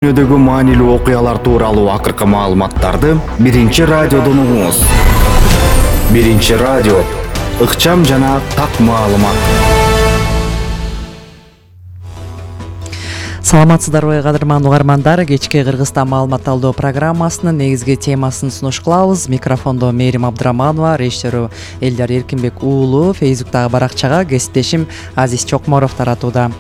Дүйнөдөгү маанилүү окуялар тууралуу акыркы маалыматтарды Биринчи радиодон угуңуз. Биринчи радио, ыкчам жана так маалымат. Саламатсыздарбы, кадырман угармандар. Кечки Кыргызстан маалымат алуу программасынын негизги темасын сунуш кылабыз. Микрофондо Мээрим Абдыраманова, режиссеру Элдар Эркинбек уулу, Фейсбуктагы баракчага кесиптешим Азиз Чокморов таратууда.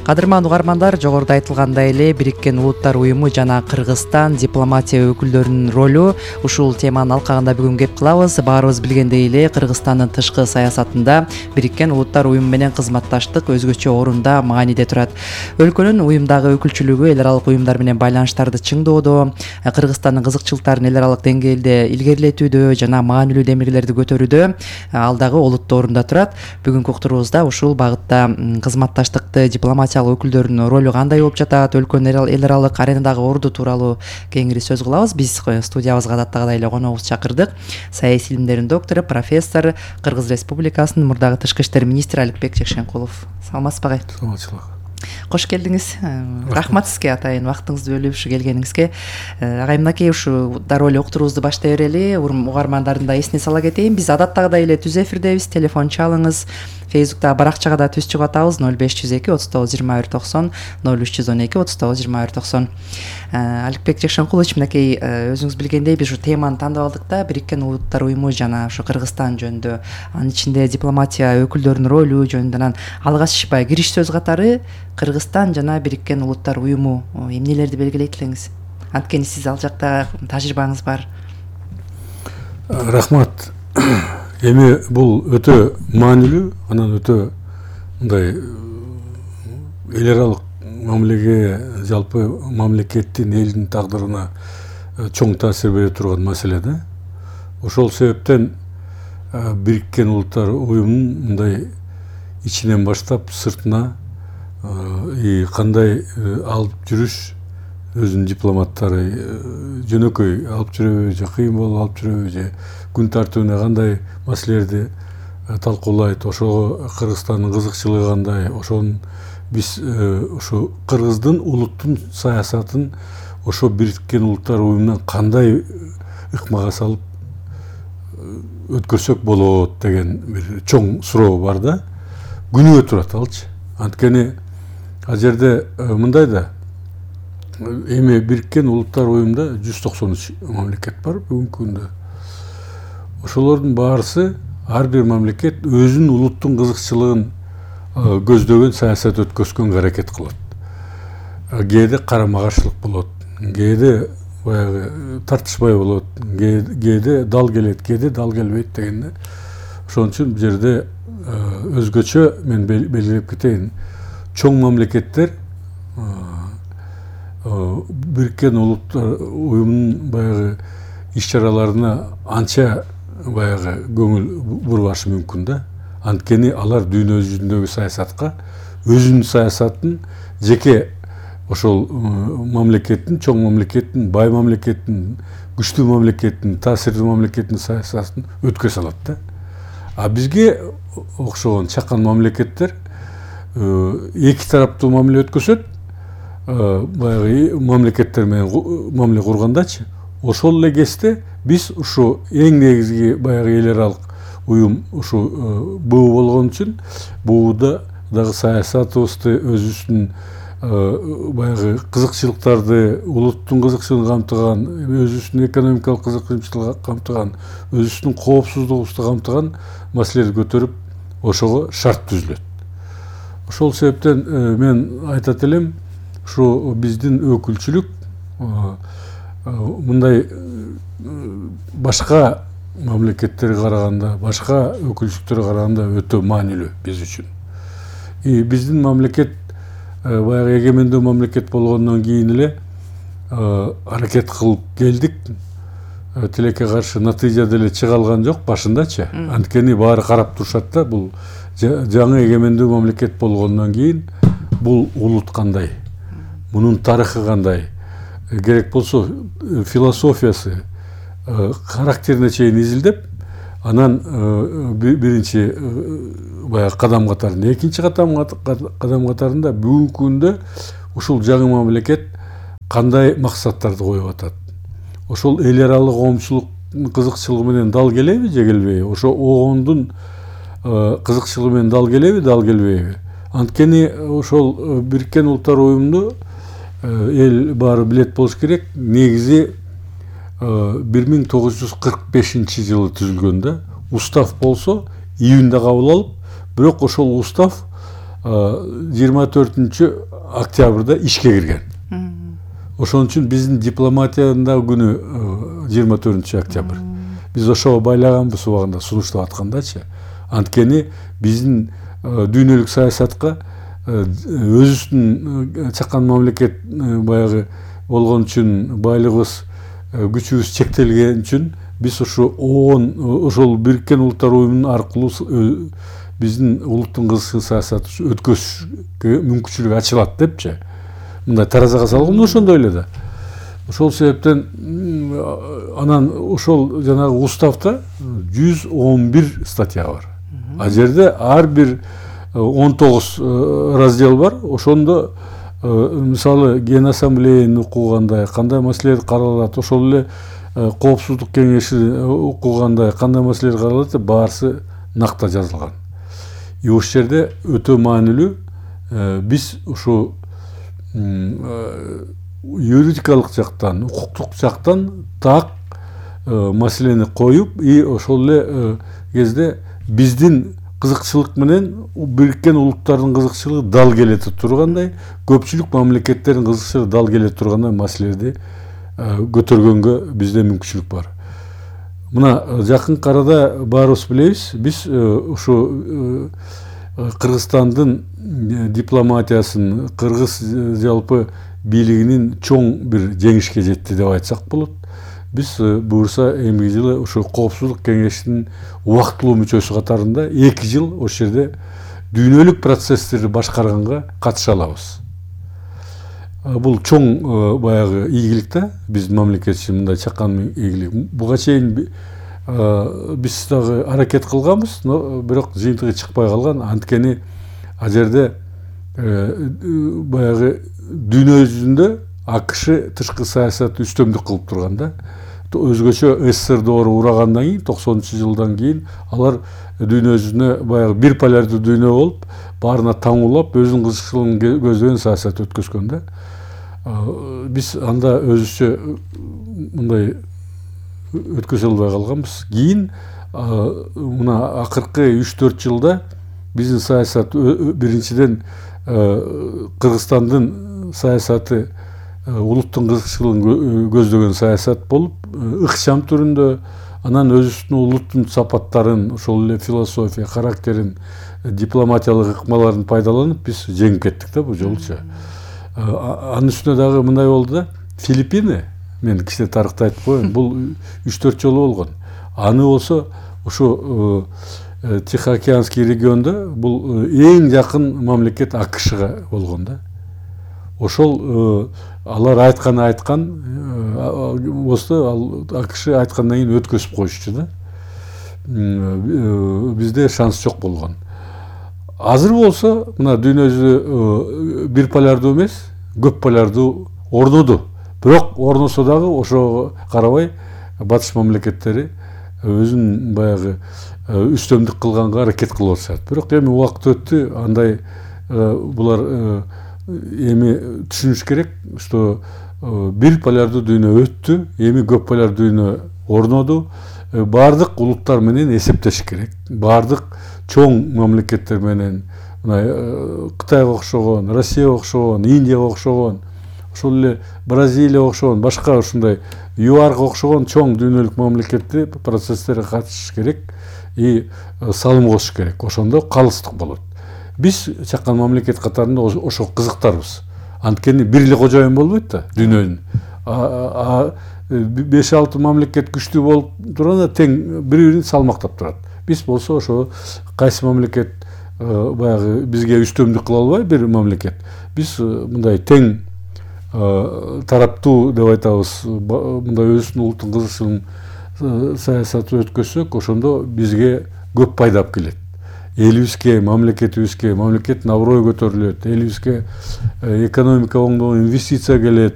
Кадырман угармандар, жогоруда айтылгандай эле Бириккен Улуттар уюму жана Кыргызстан дипломатия өкүлдөрүнүн ролу ушул теманын алкагында бүгүн кеп кылабыз. Баарыбыз билгендей эле Кыргызстандын тышкы саясатында Бириккен Улуттар уюму менен кызматташтык өзгөчө орунда, мааниде турат. Өлкөнүн уюмдагы өкүлчүлүгү эл аралык уюмдар менен байланыштарды чыңдоодо, Кыргызстандын кызыкчылыктарын эл аралык деңгээлде илгерилетүүдө жана маанилүү демилгелерди көтөрүүдө ал дагы олуттуу орунда турат. Бүгүнкү уктуруубузда ушул багытта кызматташтыкты дипломатия өкүлдөрүнүн ролу кандай болуп жатат, өлкөнүн эл аралык аренадагы орду тууралуу кеңири сөз кылабыз. Биз студиябызга адаттагыдай эле коногубузду чакырдык. Саясий илимдердин доктору, профессор, Кыргыз Республикасынын мурдагы тышкы иштер министри Аликбек Жекшенкулов. Саламатсызбы агай? Саламатчылык. Кош келдиңиз. Рахмат сизге атайын вактыңызды бөлүп ушу келгениңизге. Агай, мынакей ушу дароо эле уктуруубузду баштай берели. Угармандардын да эсине сала кетейин. Биз адаттагыдай эле түз эфирдебиз. Телефон чалыңыз. Фейсбуктагы баракчага да түз чыгып атабыз. 0502 39 21 90, 0312 39 21 90. Аликбек Жекшенкулович, мынакей өзүңүз билгендей биз ушу теманы тандап алдык да, Бириккен Улуттар уюму жана ушу Кыргызстан жөнүндө, анын ичинде дипломатия өкүлдөрүнүн ролу жөнүндө. Анан алгач кириш сөз катары Кыргызстан жана Бириккен Улуттар уюму эмнелерди белгилейт элеңиз? Анткени сиз ал жакта тажрыйбаңыз бар. Рахмат. Эми бул өтө маанилүү, анан өтө мындай эл аралык мамилеге, жалпы мамлекеттин, элдин тагдырына чоң таасир бере турган маселе да. Ошол себептен Бириккен Улуттар уюмунун мындай ичинен баштап сыртына кандай алып жүрүш, өзүнүн дипломаттары жөнөкөй алып жүрөбү же кыйын болуп алып жүрөбү же күн тартибине кандай маселелерди талкуулайт, ошого Кыргызстандын кызыкчылыгы кандай, ошонун биз ушу кыргыздын улуттун саясатын ошо Бириккен Улуттар уюмунан кандай ыкмага салып өткөрсөк болот деген бир чоң суроо бар да. Күнүгө турат алчы. Анткени ал жерде мындай да, эми Бириккен Улуттар уюмунда 193 мамлекет бар бүгүнкү күндө. Ошолордун баарысы, ар бир мамлекет өзүнүн улуттун кызыкчылыгын көздөгөн саясат өткөзгөнгө аракет кылат. Кээде карама каршылык болот, кээде баягы тартышпай болот, кээде дал келет, кээде дал келбейт дегенде. Ошон үчүн бул жерде өзгөчө мен белгилеп кетейин. Чоң мамлекеттер Бириккен Улуттар уюмунун баягы иш-чараларына анча баягы көңүл бурбашы мүмкүн да. Анткени алар дүйнө жүзүндөгү саясатка өзүнүн саясатын жеке ошол мамлекеттин, чоң мамлекеттин, бай мамлекеттин, күчтүү мамлекеттин, таасирдүү мамлекеттин саясатын өткөрө салат да. А бизге окшогон чакан мамлекеттер эки тараптуу мамиле өткөзөт, баягы мамлекеттер менен мамиле кургандачы. Ошол эле кезде биз ушу эң негизги баягы эл аралык уюм ушу БУ болгон үчүн БУда дагы саясатыбызды, өзүбүздүн баягы кызыкчылыктарды, улуттун кызыкчылыгын камтыган, өзүбүздүн экономикалык кызыкчылыгын камтыган, өзүбүздүн коопсуздугубузду камтыган маселелерди көтөрүп, ошого шарт түзүлөт. Ошол себептен мен айтат элем, ушу биздин өкүлчүлүк мындай башка мамлекеттерге караганда, башка өкүлчүлүктөргө караганда өтө маанилүү биз үчүн. Биздин мамлекет баягы эгемендүү мамлекет болгондон кийин эле аракет кылып келдик. Тилекке каршы натыйжа деле чыга алган жок башындачы. Анткени баары карап турушат да, бул жаңы эгемендүү мамлекет болгондон кийин бул улут кандай, мунун тарыхы кандай, керек болсо философиясы, характерине чейин изилдеп, анан биринчи баягы кадам катарында, экинчи кадам катарында бүгүнкү күндө ушул жаңы мамлекет кандай максаттарды коюп атат, ошол эл аралык коомчулуктун кызыкчылыгы менен дал келеби же келбейби, ошо огондун кызыкчылыгы менен дал келеби келбейби. Анткени ошол Бириккен Улуттар Уюмунду эл баары билет болуш керек, негизи 1945-жылы түзүлгөн да. Устав болсо июнда кабыл алып, бирок ошол устав 24-октябрда ишке кирген. Ошон үчүн биздин дипломатиянын да күнү 24-октябрь. Биз ошого байлаганбыз убагында сунуштап аткандачы. Анткени биздин дүйнөлүк саясатка өзүбүздүн чакан мамлекет баягы болгон үчүн, байлыгыбыз, күчүбүз чектелген үчүн биз ошол Бириккен Улуттар Уюмунун аркылуу биздин улуттун кызыкчыл саясаты өткөзүшкө мүмкүнчүлүк ачылат депчи. Мындай таразага салганда ошондой эле да. Ошол себептен анан ошол жанагы уставда 111 статья бар. А жерде ар бир 19 раздел бар. Ошондо мисалы Ген ассамблеянын укугу кандай, кандай маселелер каралат, ошол эле коопсуздук кеңеши укугу кандай, кандай маселелер каралат деп баарысы накта жазылган. Ошол жерде өтө маанилүү биз ушу юридикалык жактан, укуктук жактан так маселени коюп, и ошол эле кезде биздин кызыкчылык менен Бириккен Улуттардын кызыкчылыгы дал келе тургандай, көпчүлүк мамлекеттердин кызыкчылыгы дал келе тургандай маселелерди көтөргөнгө бизде мүмкүнчүлүк бар. Мына жакынкы арада баарыбыз билебиз, биз ушу Кыргызстандын дипломатиясын, кыргыз жалпы бийлигинин чоң бир жеңишке жетти деп айтсак болот. Биз буюрса эмки жылы ушу коопсуздук кеңешинин убактылуу мүчөсү катарында 2 жыл ошол жерде дүйнөлүк процесстерди башкарганга катыша алабыз. Бул чоң баягы ийгилик да, биздин мамлекет үчүн мындай чакан ийгилик. Буга чейин биз дагы аракет кылганбыз, но бирок жыйынтыгы чыкпай калган. Анткени ал жерде баягы дүйнө жүзүндө АКШ тышкы саясаты үстөмдүк кылып турган да. Өзгөчө СССР урагандан кийин, 90-жылдан кийин алар дүйнө жүзүнө баягы бир полярдуу дүйнө болуп, баарына таңуулап, өзүнүн кызыкчылыгын көздөгөн саясат өткөзгөн да. Биз анда өзүчө мындай өткөзө албай калганбыз. Кийин мына акыркы 3-4 жылда биздин саясат биринчиден Кыргызстандын саясаты улуттун кызыкчылыгын көздөгөн саясат болуп, ыкчам түрүндө, анан өзүбүздүн улуттун сапаттарын, ошол эле философия, характерин, дипломатиялык ыкмаларын пайдаланып биз жеңип кеттик да бул жолучу. Анын үстүнө дагы мындай болду да, Филиппины, мен кичине тарыхты айтып коеюн, бул 3-4 жолу болгон. Аны болсо ушу Тихоокеанский региондо бул эң жакын мамлекет АКШга болгон да. Ошол алар айткан болсо, ал АКШ айткандан кийин өткөзүп коюшчу да. Бизде шанс жок болгон. Азыр болсо мына дүйнө жүзү бир полярдуу эмес, көп полярдуу орноду. Бирок орносо дагы ошого карабай батыш мамлекеттери өзүн баягы үстөмдүк кылганга аракет кылып атышат. Бирок эми убакыт өттү, андай булар эми түшүнүш керек, что бир полярдуу дүйнө өттү, эми көп полярдуу дүйнө орноду. Бардык улуттар менен эсептеш керек. Бардык чоң мамлекеттер менен, Кытайга окшогон, Россияга окшогон, Индияга окшогон, ошол эле Бразилияга окшогон, башка ушундай ЮАРга окшогон чоң дүйнөлүк мамлекетти процесстерге катышыш керек и салым кошуш керек. Ошондо калыстык болот. Биз чакан мамлекет катарында ошо кызыктарбыз. Анткени бир эле кожоюн болбойт да дүйнөнүн. 5-6 мамлекет күчтүү болуп турганда тең бири-бирин салмактап турат. Биз болсо ошо кайсы мамлекет баягы бизге үстөмдүк кыла албай бир мамлекет. Биз мындай тең тараптуу деп айтабыз, мындай өзүбүздүн улуттун кызыкчылыгын саясаты өткөзсөк, ошондо бизге көп пайда алып келет. Элибизге, мамлекетибизге, мамлекеттин аброю көтөрүлөт, элибизге экономика оңдоо, инвестиция келет,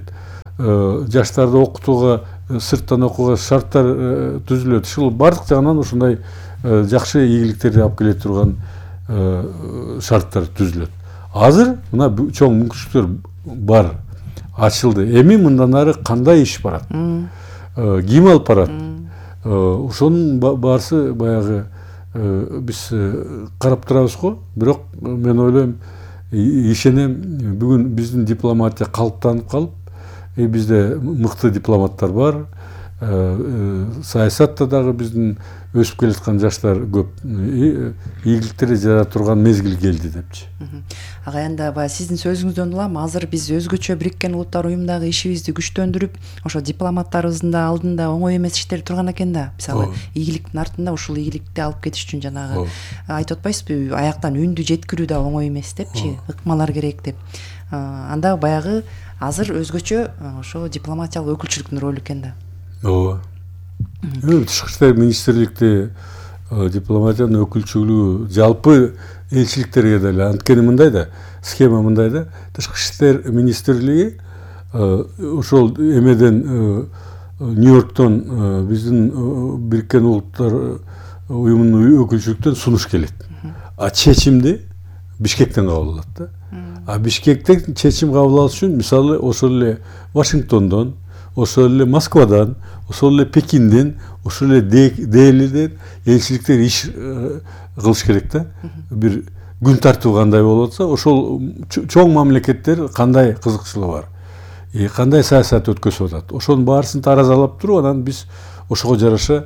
жаштарды окутууга, сырттан окууга шарттар түзүлөт. Ушул бардык жагынан ушундай жакшы ийгиликтерди алып келе турган шарттар түзүлөт. Азыр мына чоң мүмкүнчүлүктөр бар, ачылды. Эми мындан ары кандай иш барат? Ким алып барат? Ошонун баарысы баягы биз карап турабыз го. Бирок мен ойлойм, ишенем, бүгүн биздин дипломатия калыптанып калып, бизде мыкты дипломаттар бар. Саясатта дагы биздин өсүп келаткан жаштар көп. Ийгиликтерди жарата турган мезгил келди депчи. Ага эndi баягы сиздин сөзүңүздөн улам азыр биз өзгөчө Бириккен Улуттар уюмундагы ишибизди күчтөндүрүп, ошо дипломаттарыбыздын да алдында оңой эмес иштер турган экен да. Мисалы, ийгиликтин артында ушул ийгиликти алып кетиш үчүн жанагы айтып атпайсызбы, аяктан үндү жеткирүү да оңой эмес депчи, ыкмалар керек деп. Анда баягы азыр өзгөчө ошо дипломатиялык өкүлчүлүктүн ролу экен да. Ооба. Тышкы иштер министрликти дипломатиянын өкүлчүлүгү жалпы элчиликтерге деле анткени мындай да, схема мындай да, тышкы иштер министрлиги ошол эмеден Нью-Йорктон биздин Бириккен Улуттар уюмунун өкүлчүлүктөн сунуш келет. А чечимди Бишкектен кабыл алат да. А Бишкектен чечим кабыл алыш үчүн мисалы ошол эле Вашингтондон, ошол эле Москвадан, ошол эле Пекинден, ошол эле Делиден элчиликтер иш кылыш керек да. Бир күн тартуу кандай болуп атса, ошол чоң мамлекеттер кандай кызыкчылыгы бар, кандай саясат өткөзүп атат, ошонун баарысын таразалап туруп, анан биз ошого жараша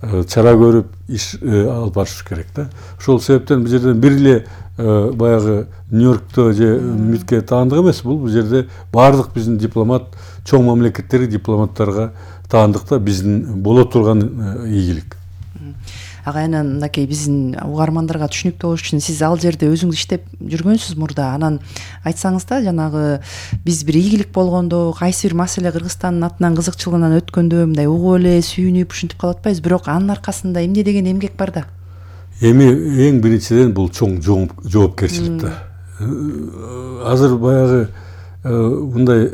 чара көрүп иш алып барыш керек да. Ошол себептен бул жерден бир эле баягы Нью-Йоркто же Митке таандык эмес, бул жерде баардык биздин дипломат, чоң мамлекеттер дипломаттарга таандык да, биздин боло турган ийгилик. Ага эми мынакей биздин угармандарга түшүнүктүү болуш үчүн сиз ал жерде өзүңүз иштеп жүргөнсүз мурда. Анан айтсаңыз да, жанагы биз бир ийгилик болгондо, кайсы бир маселе Кыргызстандын атынан кызыкчылыгынан өткөндө мындай угуп эле сүйүнүп ушинтип калып атпайбыз, бирок анын аркасында эмне деген эмгек бар да. Эми эң биринчиден бул чоң жоопкерчилик да. Азыр баягы мындай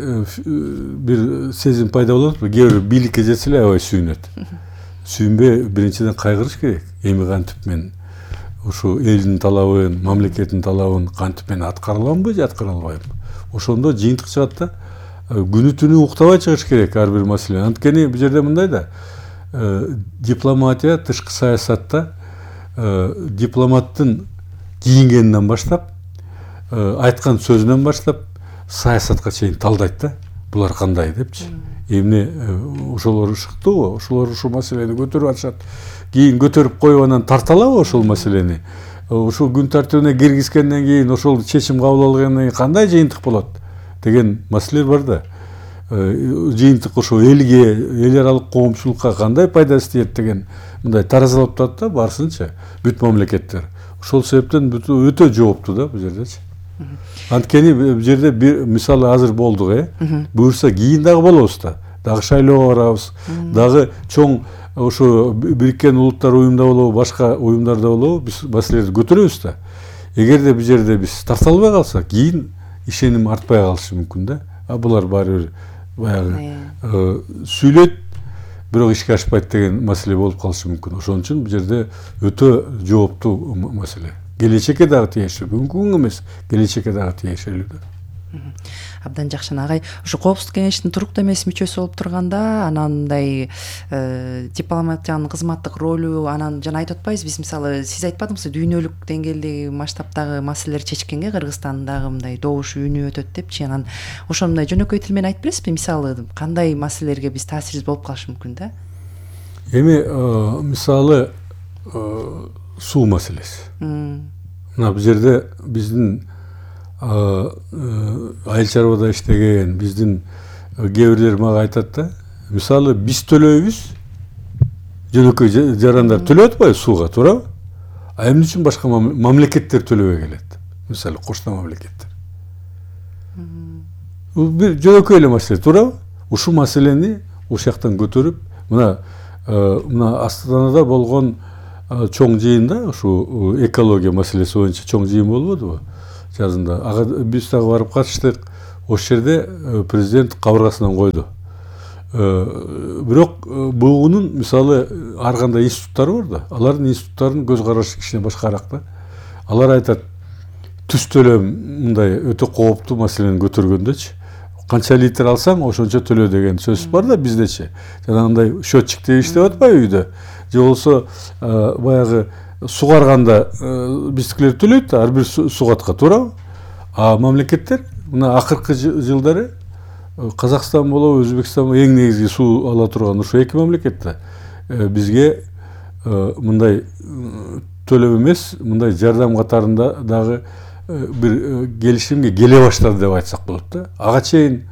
бир сезим пайда болот, кээ бир бийликке жетсе эле аябай сүйүнөт. Сүйүнбөй биринчиден кайгырыш керек. Эми кантип мен ушу элдин талабын, мамлекеттин талабын кантип мен аткара аламбы же аткара албайбы? Ошондо жыйынтык чыгат да. Күнү түнү уктабай чыгыш керек ар бир маселе. Анткени бул жерде мындай да, дипломатия, тышкы саясатта дипломаттын кийингенинен баштап, айткан сөзүнөн баштап саясатка чейин талдайт да. Булар кандай депчи. Эмне ошолор шыктыбы, ошолор ушул маселени көтөрүп атышат. Кийин көтөрүп коюп анан тарталабы ошол маселени? Ушул күн тартибине киргизгенден кийин, ошол чечим кабыл алгандан кийин кандай жыйынтык болот деген маселелер бар да. Жыйынтык ошо элге, эл аралык коомчулукка кандай пайдасы тиет деген мындай таразалап турат да, баарысынча бүт мамлекеттер. Ошол себептен өтө жооптуу да бул жердечи. Анткени бул жерде бир мисалы азыр болдук, буюрса кийин дагы болобуз да. Дагы шайлоого барабыз. Дагы чоң ошо Бириккен Улуттар уюмунда болобу, башка уюмдарда болобу, биз маселелерди көтөрөбүз да. Эгерде бул жерде биз тарта албай калсак, кийин ишеним артпай калышы мүмкүн да. А булар баары бир баягы сүйлөйт, бирок ишке ашпайт деген маселе болуп калышы мүмкүн. Ошон үчүн бул жерде өтө жооптуу маселе. Келечекке дагы тиешелүү, бүгүнкү эмес, келечекке дагы тиешелүү да. Абдан жакшы агай. Ошо Коопсуздук кеңештин туруктуу эмес мүчөсү болуп турганда, анан мындай дипломатиянын кызматтык ролу, анан жана айтып атпайбыз биз, мисалы, сиз айтпадыңызбы, дүйнөлүк деңгээлдеги масштабтагы маселелер чечкенге Кыргызстандагы мындай добуш үнү өтөт депчи. Анан ошо мындай жөнөкөй тил менен айтып бересизби, мисалы, кандай маселелерге биз таасирибиз болуп калышы мүмкүн да? Эми мисалы суу маселеси. Мына бул жерде биздин айыл чарбада иштеген биздин кээ бирлер мага айтат да, мисалы биз төлөйбүз, жөнөкөй жарандар төлөп атпайбы сууга, туурабы? А эмне үчүн башка мамлекеттер төлөбөй келет? Мисалы кошуна мамлекеттер. Бул бир жөнөкөй эле маселе, туурабы? Ушул маселени ушул жактан көтөрүп, мына Астанада болгон чоң жыйында, ушу экология маселеси боюнча чоң жыйын болбодубу жазында? Ага биз дагы барып катыштык. ошол жерде президент кабыргасынан койду. Бирок буунун мисалы ар кандай институттары бар да, алардын институттарынын көз карашы кичине башкараак да. Алар айтат, түз төлөм мындай өтө кооптуу маселени көтөргөндөчү. Канча литр алсаң, ошончо төлө деген сөз бар да биздечи. Жанагындай счетчиктер иштеп атпайбы үйдө? Же болсо баягы сугарганда биздикилер төлөйт да, ар бир сугатка, туурабы? А мамлекеттер мына акыркы жылдары Казакстан болобу, Өзбекстан эң негизги суу ала турган ушу эки мамлекет да. Бизге мындай төлөп эмес, мындай жардам катарында дагы бир келишимге келе баштады деп айтсак болот да. Ага чейин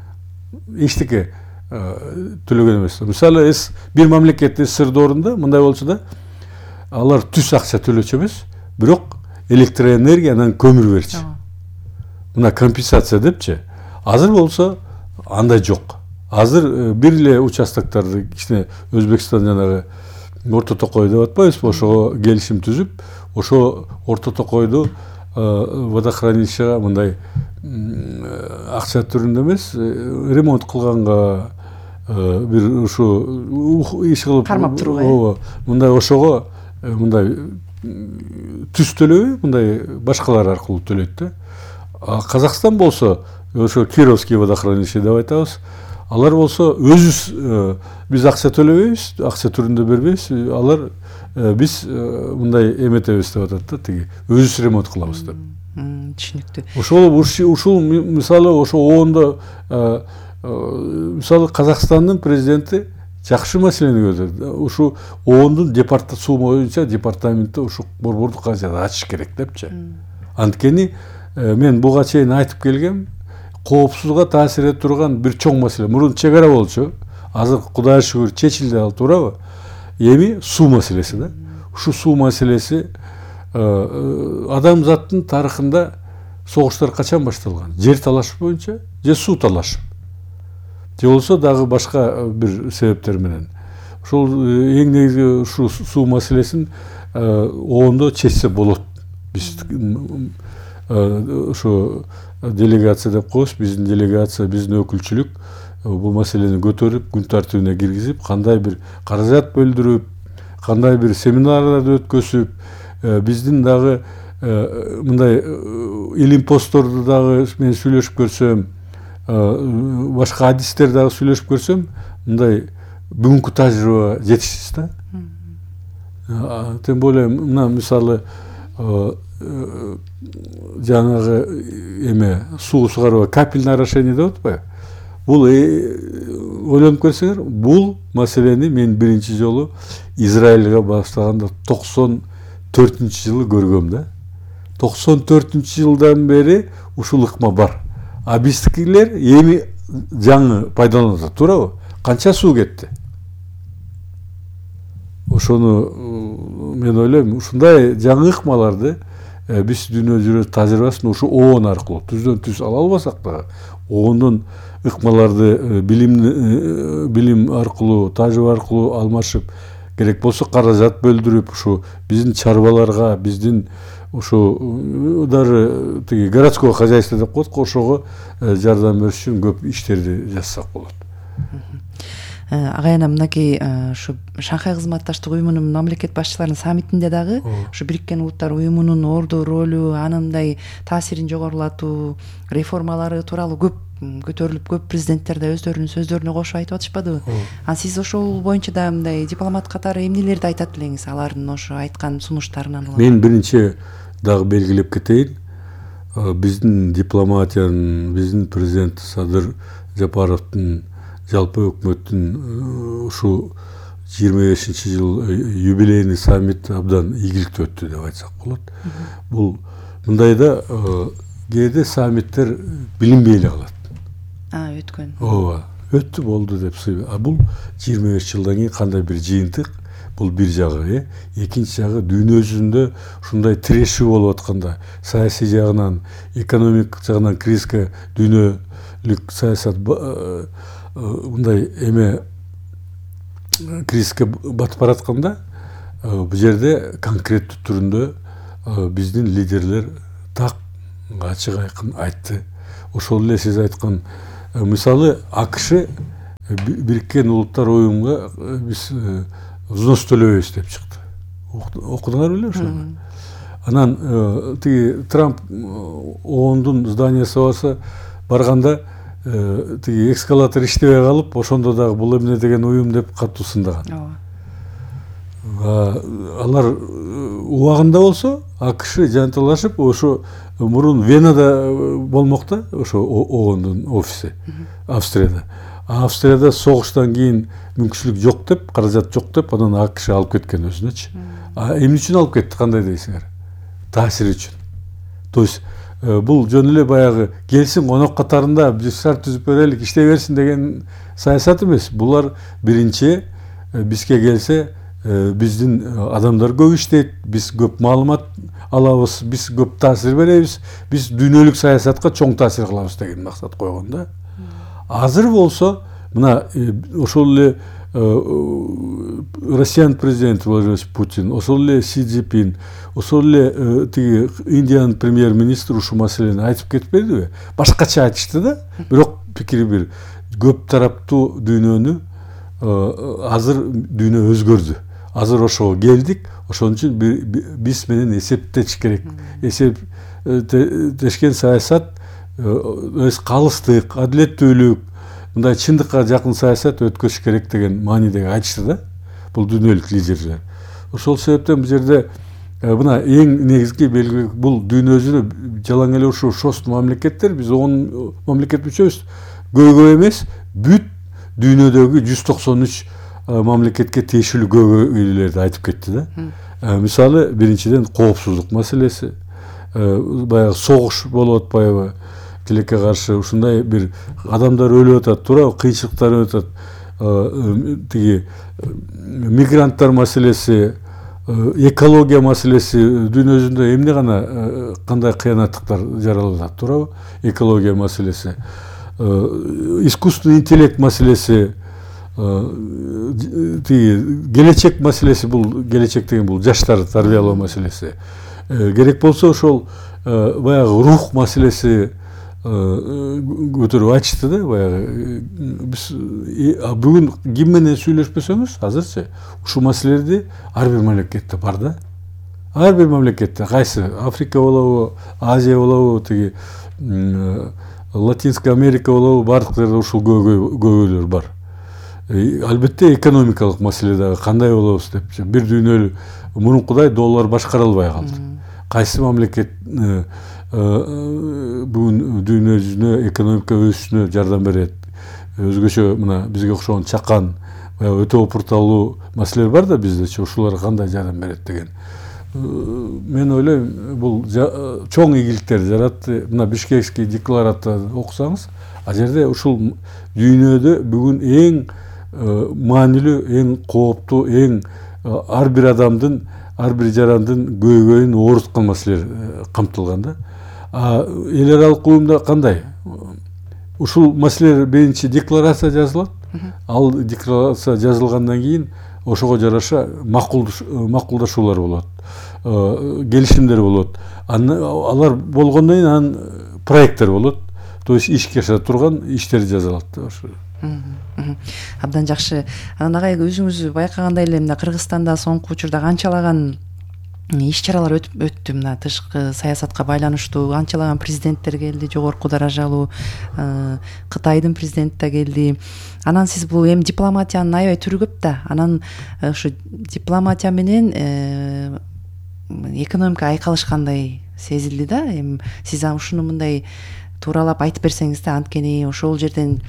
эчтеке төлөгөн эмес. Мисалы бир мамлекеттин сырдоорунда мындай болчу да, алар түз акча төлөчү эмес, бирок электроэнергия анан көмүр берчи. Мына компенсация депчи. Азыр болсо андай жок. Азыр бир эле участоктарды кичине Өзбекстан жанагы Орто Токой деп атпайбызбы, ошого келишим түзүп, ошо Орто Токойду водохранилищеге мындай акча түрүндө эмес, ремонт кылганга бир ушу иш кылып кармап турууга. Мындай ошого мындай түз төлөбөй, мындай башкалар аркылуу төлөйт да. Казакстан болсо ошо Кировский водохранилище деп айтабыз. Алар болсо өзүбүз биз акча төлөбөйбүз, акча түрүндө бербейбиз. Алар биз мындай эметебиз деп атат да, тиги өзүбүз ремонт кылабыз деп. Түшүнүктүү. Ушул мисалы ошо оондо мисалы Казакстандын президенти жакшы маселени көтөрдү. Ушу оондун суу боюнча департаменти ушу борбордук кажды ачыш керек депчи. Анткени мен буга чейин айтып келгем, коопсузга таасир этип турган бир чоң маселе. Мурун чек ара болчу. Азыр Кудайга шүгүр чечилди ал, туурабы? Эми суу маселеси да. Ушу суу маселеси адамзаттын тарыхында согуштар качан башталган? Жер талаш боюнча же суу талаш? Же болсо дагы башка бир себептер менен. Ошол эң негизги ушу суу маселесин оондо чечсе болот. Биз ошо делегация деп коебуз, биздин делегация, биздин өкүлчүлүк бул маселени көтөрүп, күн тартибине киргизип, кандай бир каражат бөлдүрүп, кандай бир семинарларды өткөзүп, биздин дагы мындай илим постторду дагы мен сүйлөшүп көрсөм, башка адистер дагы сүйлөшүп көрсөм, мындай бүгүнкү тажрыйба жетишсиз да. Тем более мына мисалы жанагы эме суу сугаруу капельное орошение деп атпайбы? Бул ойлонуп көрсөңөр, бул маселени мен биринчи жолу Израилге баштаганда 94-жылы көргөм да. 94-жылдан бери ушул ыкма бар. А биздикилер эми жаңы пайдаланат, туурабы? Канча суу кетти? Ошону мен ойлойм, ушундай жаңы ыкмаларды биз дүйнө жүрө тажрыйбасын ушу ООН аркылуу түздөн түз ала албасак да, ООНдун ыкмаларды билим аркылуу, тажрыйба аркылуу алмашып, керек болсо каражат бөлдүрүп, ушу биздин чарбаларга, биздин ушу дары тиги городское хозяйство деп коет, ошого жардам бериш үчүн көп иштерди жасасак болот. Агайына мынакей ушу Шанхай кызматташтык уюмунун мамлекет башчыларынын саммитинде дагы ушу Бириккен Улуттар уюмунун орду, ролу, анындай таасирин жогорулатуу, реформалары тууралуу көп көтөрүлүп, көп президенттер да өздөрүнүн сөздөрүнө кошуп айтып атышпадыбы? Сиз ошол боюнча да мындай дипломат катары эмнелерди айтат элеңиз алардын ошо айткан сунуштарынан? Мен биринчи дагы белгилеп кетейин, биздин дипломатиянын, биздин президент Садыр Жапаровдун, жалпы өкмөттүн ушу 25-жыл юбилейный саммит абдан ийгиликтүү өттү деп айтсак болот. Бул мындайда кээде саммиттер билинбей эле калат. Өткөн. Ооба, өттү болду деп сыйбы. А бул 25 жылдан кийин кандай бир жыйынтык? Бул бир жагы, экинчи жагы дүйнө жүзүндө ушундай тирешүү болуп атканда, саясий жагынан, экономик жагынан кризиске дүйнөлүк саясат мындай эме кризиске батып баратканда, бул жерде конкреттүү түрүндө биздин лидерлер так ачык айкын айтты. ошол эле сиз айткан мисалы АКШ Бириккен Улуттар Уюмуна биз взнос төлөбөйбүз деп чыкты. Окудуңар беле ошону? Анан тиги Трамп оондун зданиясы болсо барганда тиги эскалатор иштебей калып, ошондо дагы бул эмне деген уюм деп катуу сындаган. Алар убагында болсо АКШ жанталашып, ошо мурун Венада болмок да, ошо оондун офиси Австрияда. Австрияда согуштан кийин мүмкүнчүлүк жок деп, каражат жок деп, анан АКШ алып кеткен өзүнөчү. Эмне үчүн алып кетти, кандай дейсиңер? Таасир үчүн. То есть бул жөн эле баягы келсин конок катарында биз шарт түзүп берелик, иштей берсин деген саясат эмес. Булар биринчи бизге келсе биздин адамдар көп иштейт, биз көп маалымат алабыз, биз көп таасир беребиз, биз дүйнөлүк саясатка чоң таасир кылабыз деген максат койгон да. Азыр болсо мына ошол эле Россиянын президенти Владимир Путин, ошол эле Си Цзиньпин, ошол эле тиги Индиянын премьер-министри ушул маселени айтып кетпедиби? Башкача айтышты да, бирок пикири бир. Көп тараптуу дүйнөнү азыр дүйнө өзгөрдү. Азыр ошого келдик, ошон үчүн биз менен эсептеш керек. Эсептешкен саясат, калыстык, адилеттүүлүк, мындай чындыкка жакын саясат өткөрүш керек деген маанидеги айтышты да, бул дүйнөлүк лидерлер. Ошол себептен бул жерде мына эң негизги белги бул дүйнө жүзүнө жалаң эле ушул шост мамлекеттер, биз 10 мамлекет мүчөбүз, көйгөй эмес, бүт дүйнөдөгү 193 мамлекетке тиешелүү көйгөйлөрдү айтып кетти да. Мисалы, биринчиден коопсуздук маселеси, баягы согуш болуп атпайбы, тилекке каршы ушундай бир адамдар өлүп атат, туурабы, кыйынчылыктар өтүп атат, тиги мигранттар маселеси, экология маселеси, дүйнө жүзүндө эмне гана кандай кыянаттыктар жаралып атат, туурабы, экология маселеси, искусственный интеллект маселеси, келечек маселеси, бул келечек деген бул жаштарды тарбиялоо маселеси. Керек болсо ошол баягы рух маселеси көтөрүп айтышты да, баягы биз бүгүн ким менен сүйлөшпөсөңүз азырчы ушул маселелерди ар бир мамлекетте бар да. Ар бир мамлекетте, кайсы Африка болобу, Азия болобу, тиги Латинская Америка болобу, бардык жерде ушул көйгөйлөр бар. Албетте экономикалык маселе дагы кандай болобуз деп, бир дүйнөлүк мурункудай доллар башкара албай калды. Кайсы мамлекет бүгүн дүйнө жүзүнө экономика өсүшүнө жардам берет? Өзгөчө мына бизге окшогон чакан, өтө опурталуу маселелер бар да биздечи, ушуларга кандай жардам берет деген. Мен ойлойм, бул чоң ийгиликтер жаратты. Мына Бишкекский декларацияны окусаңыз, ал жерде ушул дүйнөдө бүгүн эң маанилүү, эң кооптуу, эң ар бир адамдын, ар бир жарандын көйгөйүн ооруткан маселелер камтылган да. Эл аралык уюмда кандай? Ушул маселелер биринчи декларация жазылат. Ал декларация жазылгандан кийин ошого жараша макулдашуулар болот, келишимдер болот. Алар болгондон кийин анан проекттер болот. То есть ишке аша турган иштер жазылат. Абдан жакшы. Анан агай, өзүңүз байкагандай эле мына Кыргызстанда соңку учурда канчалаган иш-чаралар өттү, мына тышкы саясатка байланыштуу анчалаган президенттер келди, жогорку даражалуу, Кытайдын президенти да келди. Анан сиз бул эми дипломатиянын аябай түрү көп да. Анан ушу дипломатия менен экономика айкалышкандай сезилди да. Эми сиз ушуну мындай тууралап айтып берсеңиз да, анткени ошол жерден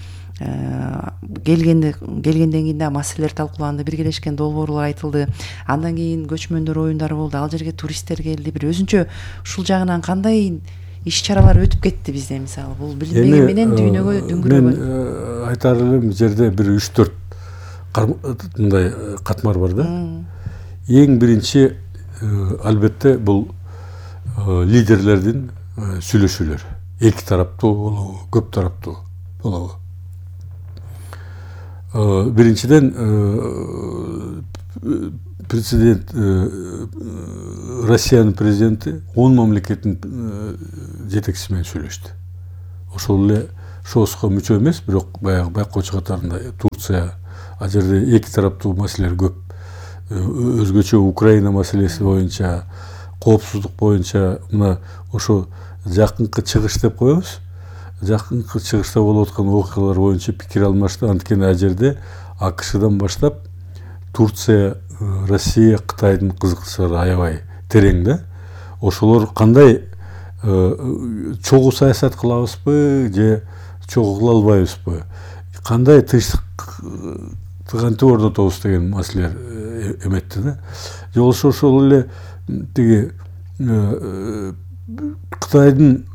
келгенден кийин да маселелер талкууланды, биргелешкен долбоорлор айтылды. Андан кийин көчмөндөр оюндары болду, ал жерге туристтер келди. Бир өзүнчө ушул жагынан кандай иш-чаралар өтүп кетти бизде, мисалы бул билинбеген менен дүйнөгө дүңгүрөгөн. Мен айтар элем, жерде бир 3-4 мындай катмар бар да. Эң биринчи албетте бул лидерлердин сүйлөшүүлөр. Эки тараптуу болобу, көп тараптуу болобу. Биринчиден президент, Россиянын президенти 10 мамлекеттин жетекчиси менен сүйлөштү. ошол эле ШОСко мүчө эмес, бирок баягы байкоочу катарында Турция, ал жерде эки тараптуу маселелер көп. Өзгөчө Украина маселеси боюнча, коопсуздук боюнча мына ошо жакынкы чыгыш деп коебуз. Жакынкы чыгышта болуп аткан окуялар боюнча пикир алмашты. Анткени ал жерде АКШдан баштап Турция, Россия, Кытайдын кызыкчылыгы аябай терең да. Ошолор кандай чогуу саясат кылабызбы же чогуу кыла албайбызбы? Кандай тыгантып орнотобуз деген маселелер эметти да. Же болбосо ошол эле тиги Кытайдын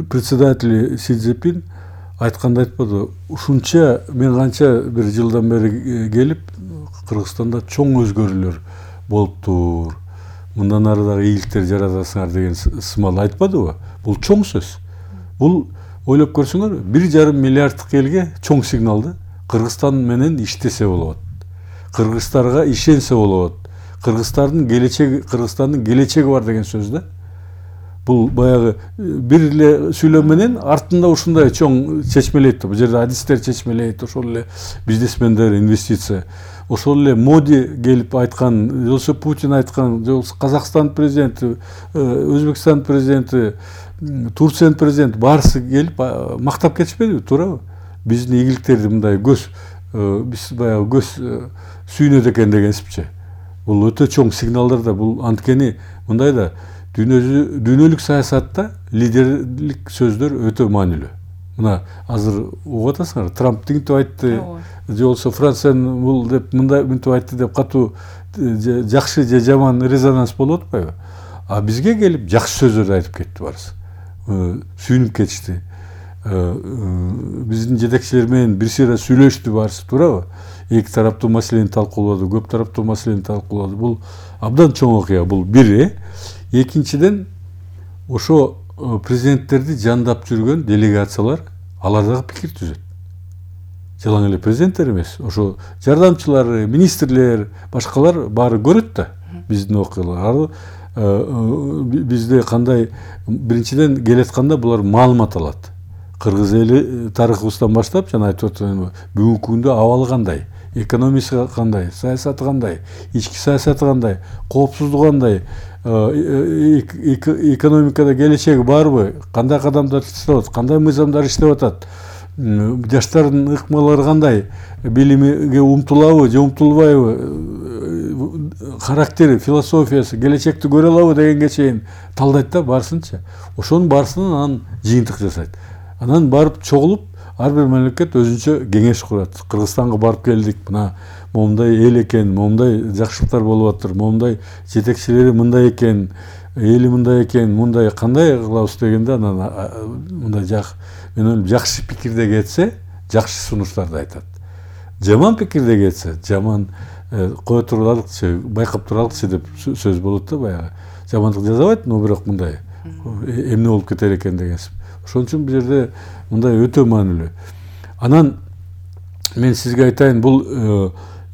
председатели Си Цзиньпин айтканда айтпады, ушунча мен канча бир жылдан бери келип Кыргызстанда чоң өзгөрүүлөр болуптур, мындан ары дагы ийгиликтер жаратасыңар деген сымал айтпадыбы? Бул чоң сөз. Бул ойлоп көрсөңөр 1,5 миллиарддык элге чоң сигнал да. Кыргызстан менен иштесе болот. Кыргыздарга ишенсе болот. Кыргыздардын келечеги бар деген сөз да. Бул баягы бир эле сүйлөм менен артында ушундай чоң чечмелейт. Бул жерде адистер чечмелейт, ошол эле бизнесмендер, инвестиция. Ошол эле Моди келип айткан, же болбосо Путин айткан, же болбосо Казакстан президенти, Өзбекстан президенти, Турциянын президенти баарысы келип мактап кетишпедиби, туурабы? Биздин ийгиликтерди мындай биз баягы көз сүйнөт экен дегенсипчи. Бул өтө чоң сигналдар да. Бул анткени мындай да дүйнөлүк саясатта лидерлик сөздөр өтө маанилүү. Мына азыр угуп атасыңар, Трамп тигинтип айтты, же болбосо Франциянын бул деп мындай мынтип айтты деп катуу жакшы же жаман резонанс болуп атпайбы? А бизге келип жакшы сөздөрдү айтып кетти баарысы. Сүйүнүп кетишти. Биздин жетекчилер менен бир сыйра сүйлөштү баарысы, туурабы? Эки тараптуу маселени талкуулады, көп тараптуу маселени талкуулады. Бул абдан чоң окуя. Бул бири. Экинчиден, ошо президенттерди жандап жүргөн делегациялар алар дагы пикир түзөт. Жалаң эле президенттер эмес, ошо жардамчылары, министрлер, башкалар баары көрөт да биздин окуяларды. Бизде кандай биринчиден келатканда булар маалымат алат. Кыргыз эли тарыхыбыздан баштап жана айтып аткан бүгүнкү күндө абалы кандай, экономикасы кандай, саясаты кандай, ички саясаты кандай, коопсуздугу кандай, экономикада келечеги барбы, кандай кадамдар жасалып атат, кандай мыйзамдар иштеп атат, жаштардын ыкмалары кандай, билимге умтулабы же умтулбайбы, характери, философиясы, келечекти көрө алабы дегенге чейин талдайт да баарысынча. Ошонун баарысынан анан жыйынтык жасайт. Анан барып чогулуп, ар бир мамлекет өзүнчө кеңеш курат. Кыргызстанга барып келдик, мына момундай эл экен, момундай жакшылыктар болуп атыр, момундай жетекчилери мындай экен, эли мындай экен, мындай кандай кылабыз дегенде анан мындай мен ойлойм жакшы пикирде кетсе, жакшы сунуштарды айтат. Жаман пикирде кетсе, жаман кое туралыкчы, байкап туралыкчы деп сөз болот да баягы. Жамандык жазабайт, но бирок мындай эмне болуп кетер экен дегенсип. Ошон үчүн бул жерде мындай өтө маанилүү. Анан мен сизге айтайын, бул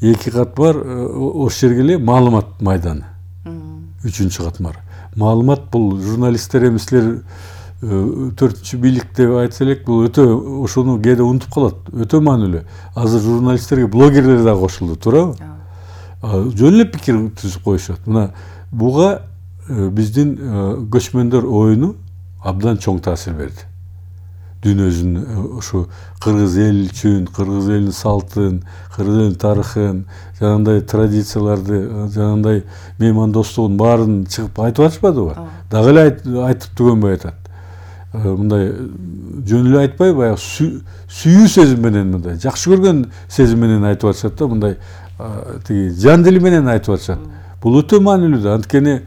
эки катмар ошол жерге эле маалымат майданы. 3-чү катмар. Маалымат бул журналисттер эмеслер 4-чү бийлик деп айтса элек, бул өтө ошону кээде унутуп калат. Өтө маанилүү. Азыр журналисттерге блогерлер да кошулду, туурабы? Жөн эле пикир түзүп коюшат. Мына буга биздин көчмөндөр оюну абдан чоң таасир берди. Дүйнөбүздүн ушу кыргыз эл үчүн, кыргыз элинин салтын, кыргыз элинин тарыхын, жанагындай традицияларды, жанагындай меймандостугун баарын чыгып айтып атышпадыбы? Дагы эле айтып түгөнбөй атат. Мындай жөн эле айтпай, баягы сүйүү сезим менен, мындай жакшы көргөн сезим менен айтып атышат да, мындай тиги жан дили менен айтып атышат. Бул өтө маанилүү да. Анткени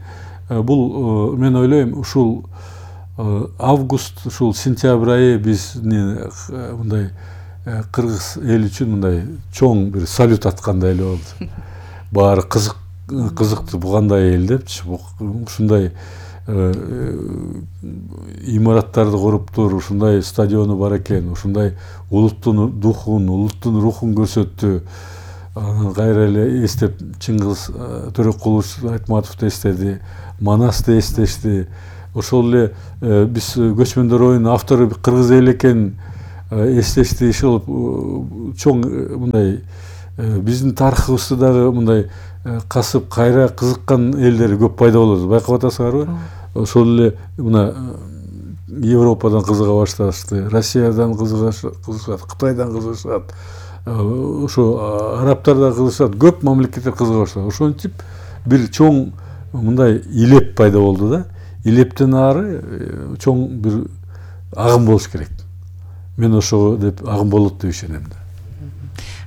бул мен ойлойм, ушул август, ушул сентябрь айы биздин мындай кыргыз эл үчүн мындай чоң бир салют аткандай эле болду. Баары кызыктı бу кандай эл депчи, ушундай имараттарды куруптур, ушундай стадиону бар экен, ушундай улуттун духун, улуттун рухун көрсөттү. Кайра эле эстеп Чыңгыз Төрөкулович Айтматовду эстеди, Манасты эстешти. ошол эле биз көчмөндөр оюнунун автору кыргыз эли экенин эстешти иши болуп чоң мындай биздин тарыхыбызды дагы мындай касып кайра кызыккан элдер көп пайда болот. Байкап атасыңарбы? Ошол эле мына Европадан кызыга башташты, Россиядан кызыгышат, Кытайдан кызыгышат, ошо арабтардан кызыгышат, көп мамлекеттер кызыга баштады. Ошентип бир чоң мындай илеп пайда болду да. Илептен ары чоң бир агым болуш керек. Мен ошого деп агым болот деп ишенем да.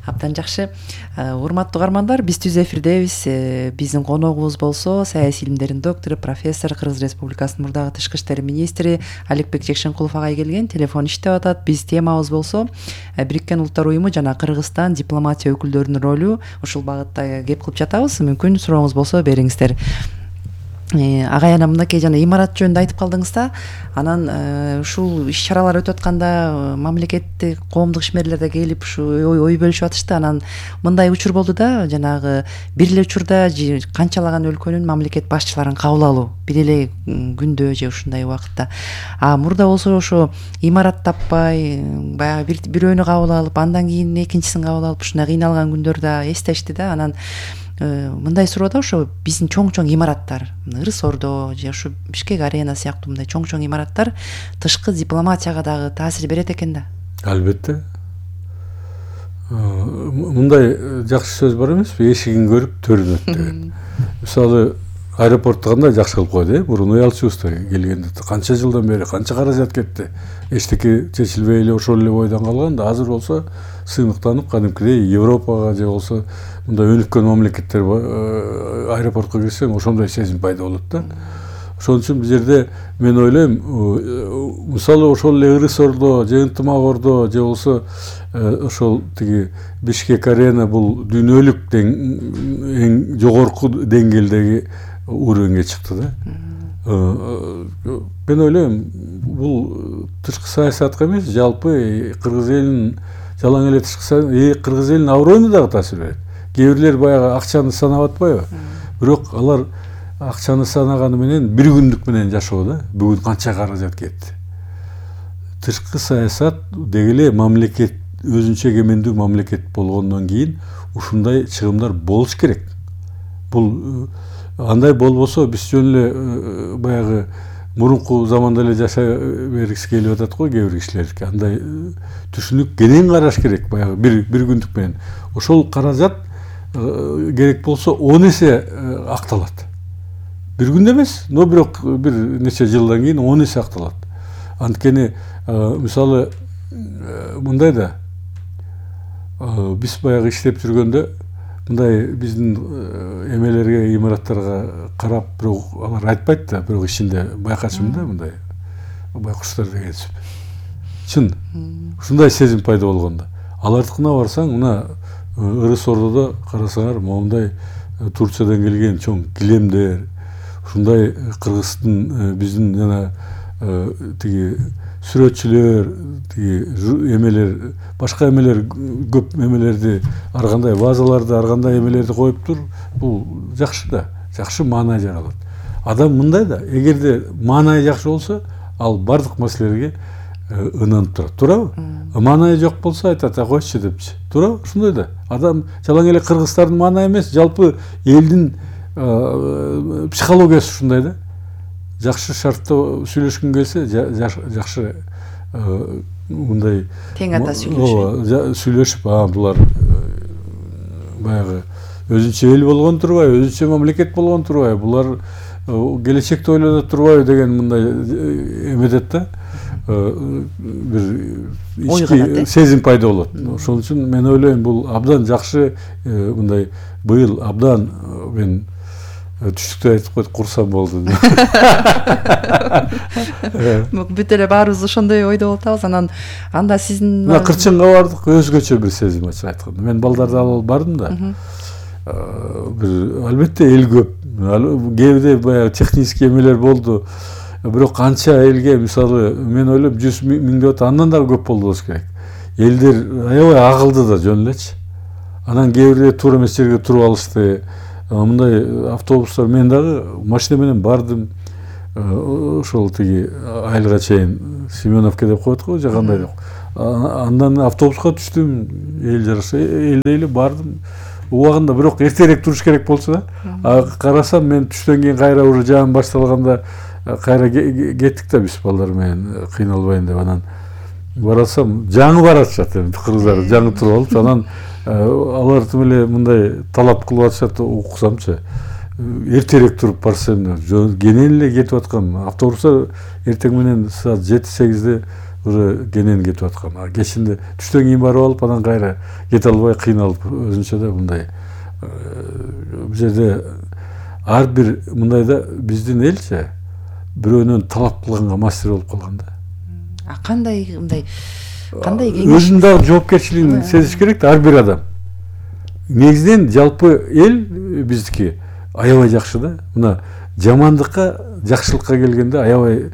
Абдан жакшы. Урматтуу угармандар, биз түз эфирдебиз. Биздин коногубуз болсо саясий илимдердин доктору, профессор, Кыргыз Республикасынын мурдагы тышкы иштер министри Аликбек Жекшенкулов агай келген. Телефон иштеп атат. Биз темабыз болсо Бириккен Улуттар Уюму жана Кыргызстан дипломатия өкүлдөрүнүн ролу. Ушул багытта кеп кылып жатабыз. Мүмкүн сурооңуз болсо бериңиздер. Агай ана мынакей жана имарат жөнүндө айтып калдыңыз да, анан ушул иш чаралар өтүп атканда мамлекеттик коомдук ишмерлер да келип ушу ой бөлүшүп атышты. Анан мындай учур болду да, жанагы бир эле учурда канчалаган өлкөнүн мамлекет башчыларын кабыл алуу бир эле күндө же ушундай убакытта. Мурда болсо ошо имарат таппай баягы бирөөнү кабыл алып, андан кийин экинчисин кабыл алып ушундай кыйналган күндөр да эстешти да. Анан мындай суроо да, ошо биздин чоң имараттар, Ырыс Ордо же ушу Бишкек Арена сыяктуу мындай чоң имараттар тышкы дипломатияга дагы таасир берет экен да. Албетте. Мындай жакшы сөз бар эмеспи? Эшигин көрүп төрүн өт деген. Мисалы аэропортто кандай жакшы кылып койду, мурун уялчубуз келгенде канча жылдан бери канча каражат кетти. Эчтеке чечилбей эле ошол эле бойдон калган да. Азыр болсо сыйныктанып кадимкидей Европага же болсо мындай өнүккөн мамлекеттер аэропортко кирсең ошондой сезим пайда болот да. Ошон үчүн бул жерде мен ойлойм, мисалы ошол эле Ырыс Ордо же Ынтымак Ордо же болсо ошол тиги Бишкек Арена бул дүйнөлүк эң жогорку деңгээлдеги уровеньге чыкты да. Мен ойлойм, бул тышкы саясатка эмес, жалпы Кыргыз элинин жалаң эле тышкы Кыргыз элинин аброюна дагы таасир берет. Кээ бирлер баягы акчаны санап атпайбы? Бирок алар акчаны санаганы менен бир күндүк менен жашоо да. Бүгүн канча каражат кетти. Тышкы саясат деги эле мамлекет, өзүнчө эгемендүү мамлекет болгондон кийин ушундай чыгымдар болуш керек. Бул андай болбосо биз жөн эле баягы мурунку заманда эле жашай бергиси келип атат го кээ бир кишилерге. Андай түшүнүк кенен караш керек, баягы бир күндүк менен. Ошол каражат керек болсо 10 эсе акталат. Бир күндө эмес, но бирок бир нече жылдан кийин 10 эсе акталат. Анткени мисалы мындай да, биз баягы иштеп жүргөндө мындай биздин эмелерге, имараттарга карап, бирок алар айтпайт да, бирок ичинде байкашым да, мындай байкуштар дегенсип. Чын, ушундай сезим пайда болгондо. Алардыкына барсаң, мына Ырыс Ордодо карасаңар, моундай Турциядан келген чоң килемдер, ушундай Кыргыздын биздин жана тиги сүрөтчүлөр, тиги эмелер, башка эмелер, көп эмелерди, ар кандай вазаларды, ар кандай эмелерди коюп тур. Бул жакшы да, жакшы маанай жаралат. Адам мындай да, эгерде маанай жакшы болсо, ал бардык маселелерге ынанып турат. Туурабы? Маанай жок болсо айтат, койчу депчи. Туурабы? Ушундай да. Адам жалаң эле кыргыздардын маанай эмес, жалпы элдин психологиясы ушундай да. Жакшы шартта сүйлөшкүн келсе, жакшы мындай тең ата сүйлөшүп, булар баягы өзүнчө эл болгон турбайбы, өзүнчө мамлекет болгон турбайбы, булар келечекти ойлонот турбайбы деген мындай эметет да. Бир ички сезим пайда болот. Ошон үчүн мен ойлойм, бул абдан жакшы, мындай быйыл абдан мен түштүктө айтып койдук, курсам болду. Бүт эле баарыбыз ошондой ойдо болуп атабыз. Анан анда сиздин Кырчынга бардык, өзгөчө бир сезим ачык айтканда. Мен балдарды алып бардым да. Бир албетте эл көп. Кээде баягы технический эмелер болду. Бирок канча элге, мисалы, мен ойлойм 100 миң деп атат, андан дагы көп болду болуш керек. Элдер аябай агылды да жөн элечи. Анан кээ бирде туура эмес жерге туруп алышты. Мындай автобустар, мен дагы машина менен бардым. ошол тиги айылга чейин Семеновка деп коет го же кандай деп. Андан автобуска түштүм, эл жараша элдейли бардым. Убагында бирок эртерээк туруш керек болчу да. Карасам мен түштөн кийин кайра уже жаам башталганда кайра кеттик да биз балдар менен кыйналбайын деп. Анан барасам жаңы баратышат, кыргыздар жаңы туруп алып, анан алар тим эле мындай талап кылып атышат, уксамчы. Эртерээк туруп барсам, кенен эле кетип аткан. Автобуста эртең менен саат 7-8де уже кенен кетип аткан. Кечинде түштөн кийин барып алып, анан кайра кете албай кыйналып өзүнчө да мындай. Бул жерде ар бир мындайда биздин элчи бирөөнөн талап кылганга мастер болуп калган да. Кандай мындай кандай кеңеш? Өзүнүн дагы жоопкерчилигин сезиш керек да ар бир адам. Негизинен жалпы эл биздики аябай жакшы да. Мына жамандыкка, жакшылыкка келгенде аябай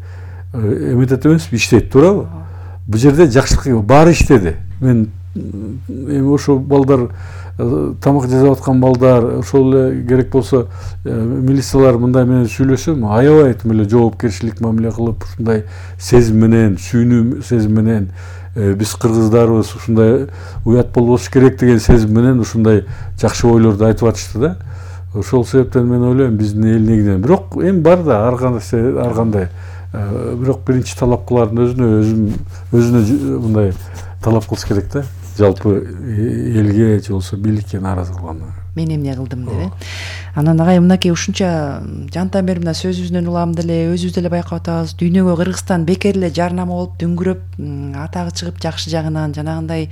эметет эмеспи, иштейт, туурабы? Бул жерде жакшылык баары иштеди. Мен эми ошо балдар тамак жасап аткан балдар, ошол эле керек болсо милициялар мындай менен сүйлөсөм, аябай тим эле жоопкерчилик мамиле кылып, ушундай сезим менен, сүйүнүү сезим менен биз кыргыздарбыз, ушундай уят болбош керек деген сезим менен ушундай жакшы ойлорду айтып атышты да. Ошол себептен мен ойлойм биздин эл негизинен. Бирок эми бар да ар кандай. Бирок биринчи талап кылардын өзүнө мындай талап кылыш керек да. Жалпы элге же болсо бийликке нааразы кылганда. Мен эмне кылдым деп. Анан агай мынакей ушунча жантан бери мына сөзүбүздөн улам деле өзүбүз деле байкап атабыз. Дүйнөгө Кыргызстан бекер эле жарнама болуп дүңгүрөп, атагы чыгып жакшы жагынан жанагындай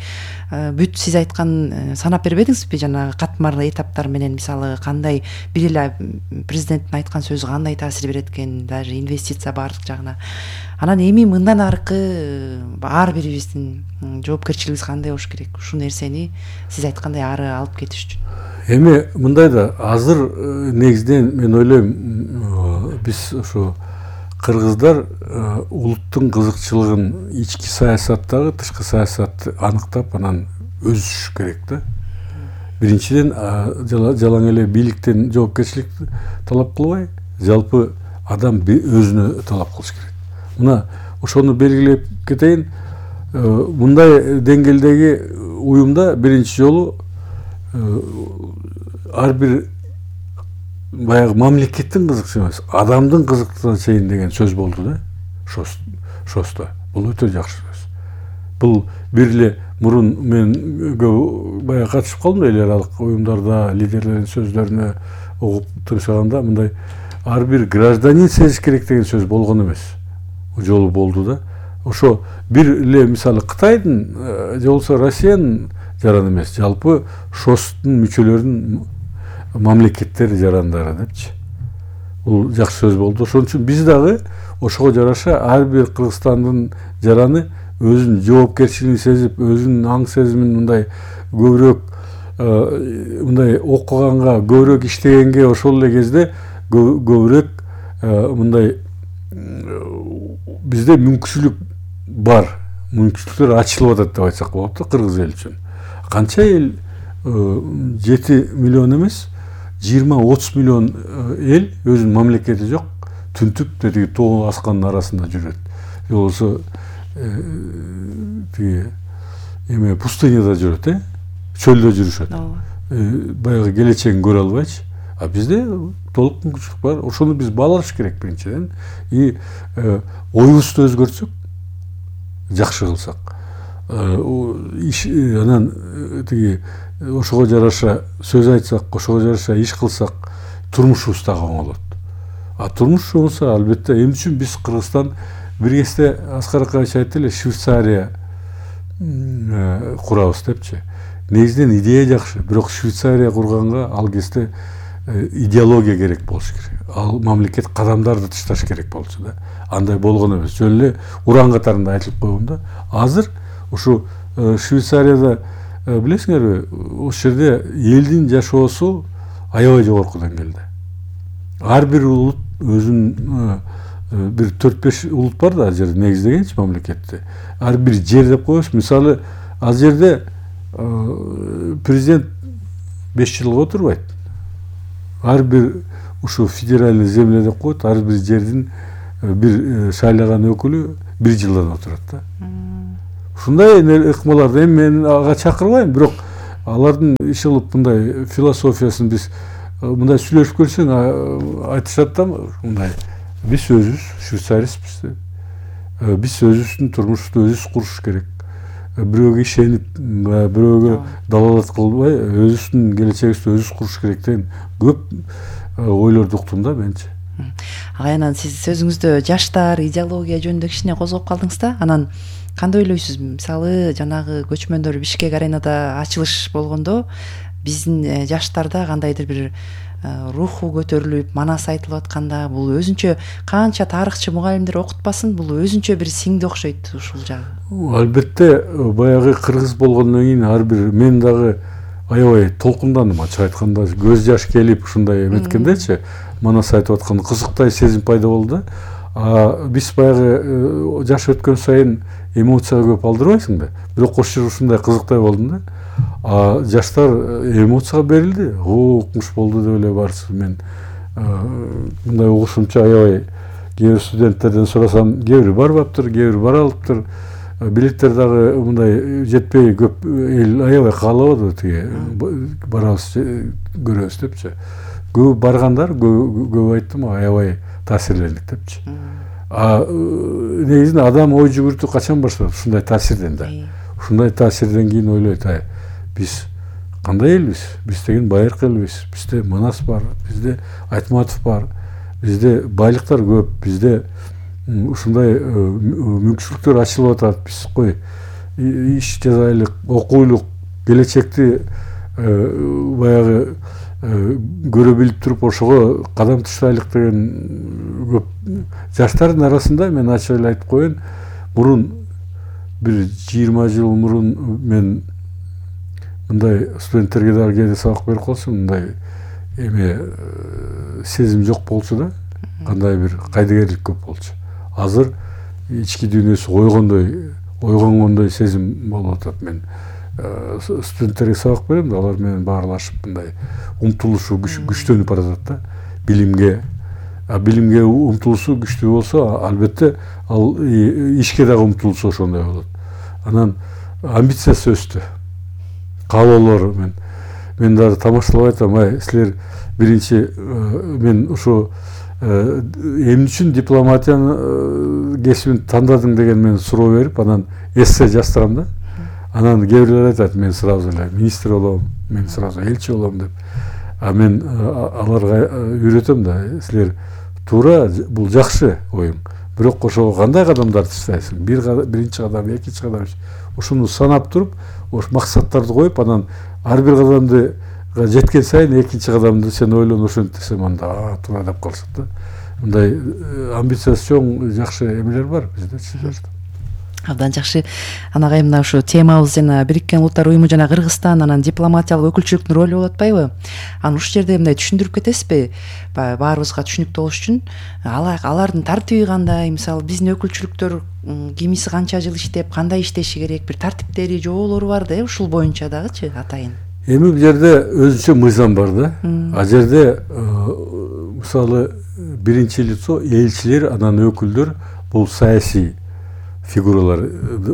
бүт сиз айткан санап бербедиңизби? Жанагы катмар этаптар менен мисалы кандай бир эле президенттин айткан сөзү кандай таасир берет экен, даже инвестиция баардык жагына. Анан эми мындан аркы ар бирибиздин жоопкерчилигибиз кандай болуш керек? Ушул нерсени сиз айткандай ары алып кетиш үчүн. Эми мындай да азыр негизинен мен ойлойм биз ошо кыргыздар улуттун кызыкчылыгын ички саясаттагы тышкы саясатты аныктап анан өсүш керек да. Биринчиден жалаң эле бийликтен жоопкерчилик талап кылбай, жалпы адам өзүнө талап кылыш керек. Мына ошону белгилеп кетейин. Мындай деңгээлдеги уюмда биринчи жолу ар бир баягы мамлекеттин кызыкчысы эмес, адамдын кызыктыгына чейин деген сөз болду да. Шосто. Бул өтө жакшы сөз. Бул бир эле мурун мен баягы катышып калдым эл аралык уюмдарда лидерлердин сөздөрүнө угуп тыңшаганда мындай ар бир гражданин сезиш керек деген сөз болгон эмес. Жолу болду да. Ошо бир эле мисалы Кытайдын же болсо Россиянын жараны эмес, жалпы ШОСтун мүчөлөрүнүн мамлекеттер жарандары депчи. Бул жакшы сөз болду. Ошон үчүн биз дагы ошого жараша ар бир Кыргызстандын жараны өзүнүн жоопкерчилигин сезип, өзүнүн аң сезимин мындай көбүрөөк мындай окуганга, көбүрөөк иштегенге, ошол эле кезде көбүрөөк мындай бизде мүмкүнчүлүк бар, мүмкүнчүлүктөр ачылып атат деп айтсак болот да кыргыз эл үчүн. Канча эл 7 миллион эмес, 20-30 миллион эл өзүнүн мамлекети жок, түнтүп тетиги тоо аскандын арасында жүрөт. Же болсо тиги эме пустыняда жүрөт, чөлдө жүрүшөт. Баягы келечегин көрө албайчы. А бизде толук мүмкүнчүлүк бар. Ошону биз баалаш керек биринчиден. И оюбузду өзгөртсөк, жакшы кылсак. Анан тиги ошого жараша сөз айтсак, ошого жараша иш кылсак, турмушубуз дагы оңолот. А турмуш болсо албетте эмне үчүн биз Кыргызстан бир кезде Аскар Акаевич айтты эле Швейцария курабыз депчи. Негизинен идея жакшы, бирок Швейцария курганга ал кезде идеология керек болуш керек. Ал мамлекет кадамдарды ташташ керек болчу да. Андай болгон эмес. Жөн эле уран катарында айтылып койгон да. Азыр ушу Швейцарияда билесиңерби, ошол жерде элдин жашоосу аябай жогорку деңгээлде. Ар бир улут өзүнүн бир 4-5 улут бар да, ал жерде негиздегенчи мамлекетти. Ар бир жер деп коебуз. Мисалы, ал жерде президент 5 жылга отурбайт. Ар бир ушу федеральный земля деп коет, ар бир жердин бир шайлаган өкүлү 1 жылдан отурат да. Ушундай ыкмаларды эми мен ага чакырбайм, бирок алардын иш кылып мындай философиясын биз мындай сүйлөшүп көрсөң айтышат да, мындай биз өзүбүз швейцариспиз. Биз өзүбүздүн турмушту өзүбүз куруш керек. Бирөөгө ишенип, бирөөгө далалат кылбай, өзүбүздүн келечегибизди өзүбүз куруш керек деген көп ойлорду уктум да менчи. Анан сиз сөзүңүздө жаштар идеология жөнүндө кичине козгоп калдыңыз да. Анан кандай ойлойсуз? Мисалы, жанагы көчмөндөр Бишкек аренада ачылыш болгондо биздин жаштарда кандайдыр бир руху көтөрүлүп, манас айтылып атканда, бул өзүнчө канча тарыхчы мугалимдер окутпасын, бул өзүнчө бир сиңди окшойт ушул жагы. Албетте, баягы кыргыз болгондон кийин ар бир мен дагы аябай толкундандым, ачык айтканда көз жаш келип ушундай эметкендечи, манас айтып аткан кызыктай сезим пайда болду да. Биз баягы жаш өткөн сайын эмоцияга көп алдырбайсың да. Бирок ошол ушундай кызыктай болдум да. Жаштар эмоцияга берилди. Укмуш болду деп эле барчу. Мен мындай угушумча аябай кээ бир студенттерден сурасам, кээ бири барбаптыр, кээ бири бара алыптыр. Билеттер дагы мындай жетпей көп эл аябай каалабады тиги барабыз көрөбүз депчи. Көп баргандар көп айттым, аябай таасирлендик депчи. Негизинде адам ой жүгүртүү качан башталат? Ушундай таасирден да. Ушундай таасирден кийин ойлойт, биз кандай элбиз? Биз деген байыркы элбиз. Бизде Манас бар, бизде Айтматов бар, бизде байлыктар көп, бизде ушундай мүмкүнчүлүктөр ачылып атат. Биз кой иш жасайлык, окуйлук, келечекти баягы көрө билип туруп ошого кадам таштайлык деген көп. Жаштардын арасында мен ачык эле айтып коеюн, мурун бир 20 жыл мурун мен мындай студенттерге дагы кээде сабак берип калсам, мындай эме сезим жок болчу да, кандай бир кайдыгерлик көп болчу. Азыр ички дүйнөсү ойгонгондой сезим болуп атат. Мен студенттерге сабак берем да, алар менен баарлашып мындай умтулушу күчтөнүп баратат да, билимге. Билимге умтулушу күчтүү болсо, албетте ал ишке дагы умтулушу ошондой болот. Анан амбициясы өстү. Каалоолор мен дагы тамашалап айтам, силер биринчи мен ушу эмне үчүн дипломатиянын кесибин тандадың деген мен суроо берип, анан эссе жаздырам да. Анан кээ бирлер айтат, мен сразу эле министр болом, мен сразу элчи болом деп. Мен аларга үйрөтөм да, силер туура бул жакшы оюң. Бирок ошого кандай кадамдарды таштайсың? Биринчи кадам, экинчи кадам. Ушуну санап туруп, ош максаттарды коюп, анан ар бир кадамды жеткен сайын экинчи кадамды сен ойлон, ошентсем анда туура деп калышат да. Мындай амбициясы чоң жакшы эмелер бар бизде. Абдан жакшы. Анагай мына ушу темабыз жана Бириккен Улуттар Уюму жана Кыргызстан, анан дипломатиялык өкүлчүлүктүн ролу болуп атпайбы? Анан ушул жерде мындай түшүндүрүп кетесизби? Баарыбызга түшүнүктүү болуш үчүн алардын тартиби кандай? Мисалы, биздин өкүлчүлүктөр кимиси канча жыл иштеп, кандай иштеши керек? Бир тартиптери, жоболору бар да, ушул боюнча дагычы атайын. Эми бул жерде өзүнчө мыйзам бар да. Жерде мисалы биринчи лицо элчилер, анан өкүлдөр бул саясий фигуралар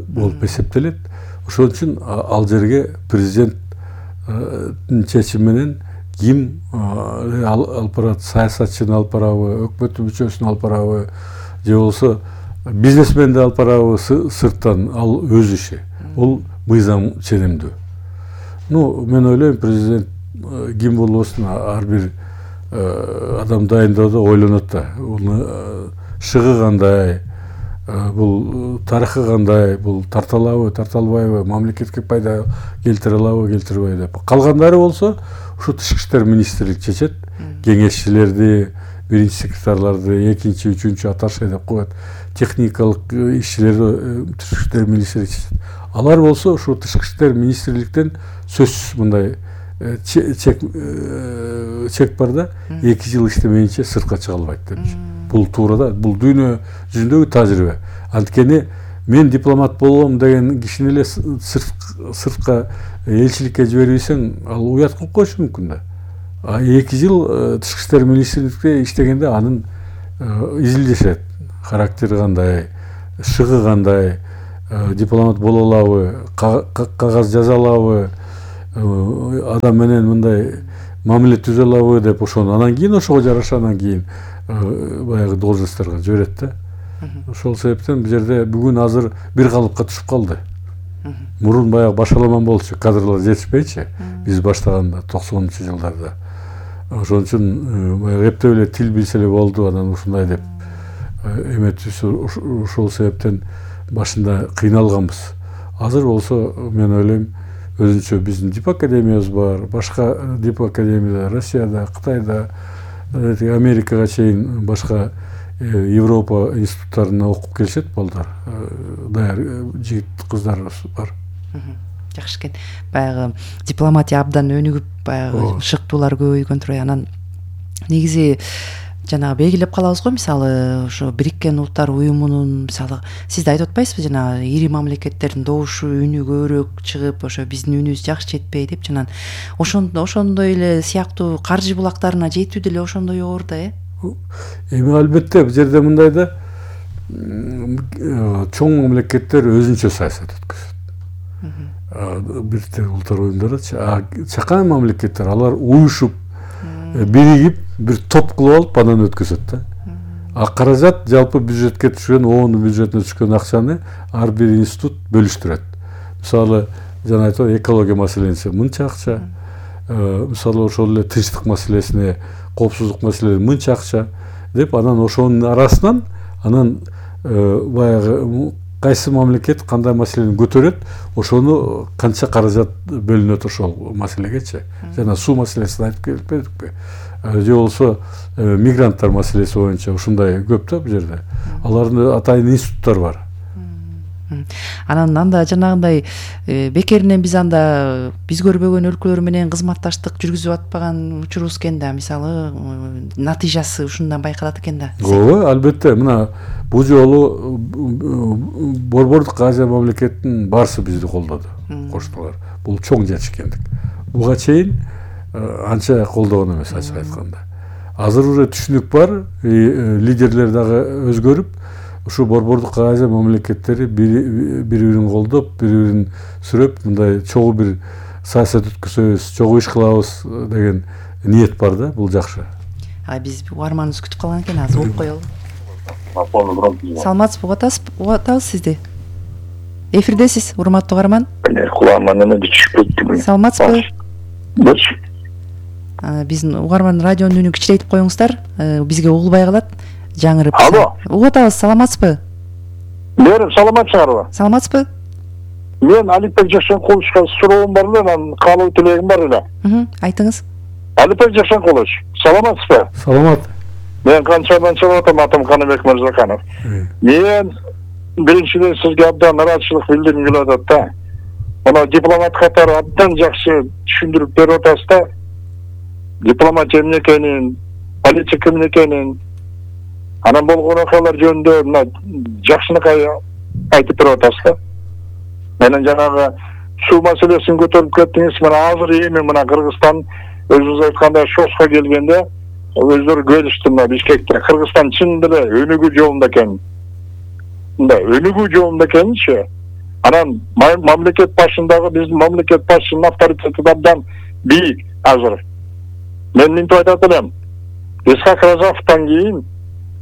болуп эсептелет. Ошон үчүн ал жерге президенттин чечими менен ким алып барат, саясатчыны алып барабы, өкмөттүн мүчөсүн алып барабы, же болбосо бизнесменди алып барабы сырттан, ал өз иши. Ол мыйзам ченемдүү. Мен ойлойм, президент ким болбосун ар бир адам дайындоодо ойлонот да. Шыгы кандай, бул тарыхы кандай, бул тарталабы, тарталбайбы, мамлекетке пайда келтире алабы, келтирбейби деп. Калгандары болсо ушу тышкы иштер министрлик чечет. Кеңешчилерди, биринчи секретарларды, экинчи, үчүнчү атташе деп коет. Техникалык ишчилерди тышкы иштер министрлик чечет. Алар болсо ушу тышкы иштер министрликтен сөзсүз мындай чек бар да, 2 жыл иштемейинче сыртка чыга албайт деп. Бул туура да, бул дүйнө жүзүндөгү тажрыйба. Анткени мен дипломат болом деген кишини эле сыртка элчиликке жибербесең, ал уят кылып коюшу мүмкүн да. 2 жыл тышкы иштер министрликте иштегенде анын изилдешет. характери кандай, шыгы кандай, дипломат боло алабы, кагаз жаза алабы, адам менен мындай мамиле түзө алабы деп ошону анан кийин ошого жараша анан кийин баягы должностторго жиберет да. Ошол себептен бул жерде бүгүн азыр бир калыпка түшүп калды. Мурун баягы башаламан болчу, кадрлар жетишпейчи биз баштаганда 90-жылдарда. Ошон үчүн баягы эптеп эле тил билсе эле болду, анан ушундай деп эметибиз. Ошол себептен башында кыйналганбыз. Азыр болсо мен ойлойм өзүнчө биздин дип академиябыз бар, башка дип академия Россияда, Кытайда, Америкага чейин башка Европа институттарына окуп келишет балдар. Даяр жигит кыздарыбыз бар. Жакшы экен. Баягы дипломатия абдан өнүгүп, баягы шыктуулар көбөйгөн турбайбы. Анан негизи жанагы белгилеп калабыз го, мисалы ошо Бириккен Улуттар Уюмунун, мисалы сиз да айтып атпайсызбы, жанагы ири мамлекеттердин добушу үнү көбүрөөк чыгып, ошо биздин үнүбүз жакшы жетпей деп, жанагы ошондой эле сыяктуу каржы булактарына жетүү деле ошондой оор да, Эми албетте бул жерде мындай да, чоң мамлекеттер өзүнчө саясат өткөзөт. Бириккен Улуттар Уюмдарычы, чакан мамлекеттер алар уюшуп, биригип, бир топ кылып алып анан өткөзөт да. Каражат жалпы бюджетке түшкөн, ООН бюджетине түшкөн акчаны ар бир институт бөлүштүрөт. Мисалы, жана айтып экология маселесине мынча акча, мисалы ошол эле тынчтык маселесине, коопсуздук маселесине мынча акча деп, анан ошонун арасынан анан баягы кайсы мамлекет кандай маселени көтөрөт, ошону канча каражат бөлүнөт ошол маселегечи. Жана суу маселесин айтып келбедикпи? Же болсо мигранттар маселеси боюнча ушундай көп да бул жерде. Алардын атайын институттары бар. Анан анда жанагындай бекеринен биз анда биз көрбөгөн өлкөлөр менен кызматташтык жүргүзүп атпаган учурубуз экен да, мисалы натыйжасы ушундан байкалат экен да. Ооба, албетте. Мына бул жолу Борбордук Азия мамлекетинин баарысы бизди колдоду, коштулар. Бул чоң жетишкендик. Буга чейин анча колдогон эмес, ачык айтканда. Азыр уже түшүнүк бар, лидерлер дагы өзгөрүп, ушу Борбордук Азия мамлекеттери бири-бирин колдоп, бири-бирин сүрөп, мындай чогуу бир саясат өткөзөбүз, чогуу иш кылабыз деген ниет бар да, бул жакшы. Биз угарманыбыз күтүп калган экен, азыр угуп коелу. Саламатсызбы, угуп атабыз сизди. Эфирдесиз, урматтуу угарман. Кулагыма неме түшүп кетти. Саламатсызбы? Биздин угарман радионун үнүн кичирейтип коюңуздар, бизге угулбай калат. Жаңырып. Алло. Угуп атабыз, саламатсызбы? Мен саламатсыздарбы? Саламатсызбы? Мен Алипбек Жакшенкуловичка суроом бар эле, анан каалоо тилегим бар эле. Айтыңыз. Алипбек Жакшенкулович, саламатсызбы? Саламат. Мен Канчадан чыгып атам, атым Каныбек Мырзаканов. Мен биринчиден сизге абдан ыраазычылык билдиргим келип атат да. Мына дипломат катары абдан жакшы түшүндүрүп берип атасыз да. Дипломатия эмне экенин, политика эмне экенин, анан болгон окуялар жөнүндө мына жакшынакай айтып берип атасыз да. Менен жанагы суу маселесин көтөрүп кеттиңиз. Мына азыр эми мына Кыргызстан өзүңүз айткандай ШОСко келгенде өздөрү келишти мына Бишкекте. Кыргызстан чын эле өнүгүү жолунда экен. Мындай өнүгүү жолунда экенинчи. Анан мамлекет башындагы биздин мамлекет башчынын авторитети абдан бийик азыр. Мен мынтип айтат элем. Исхак Разаковтан кийин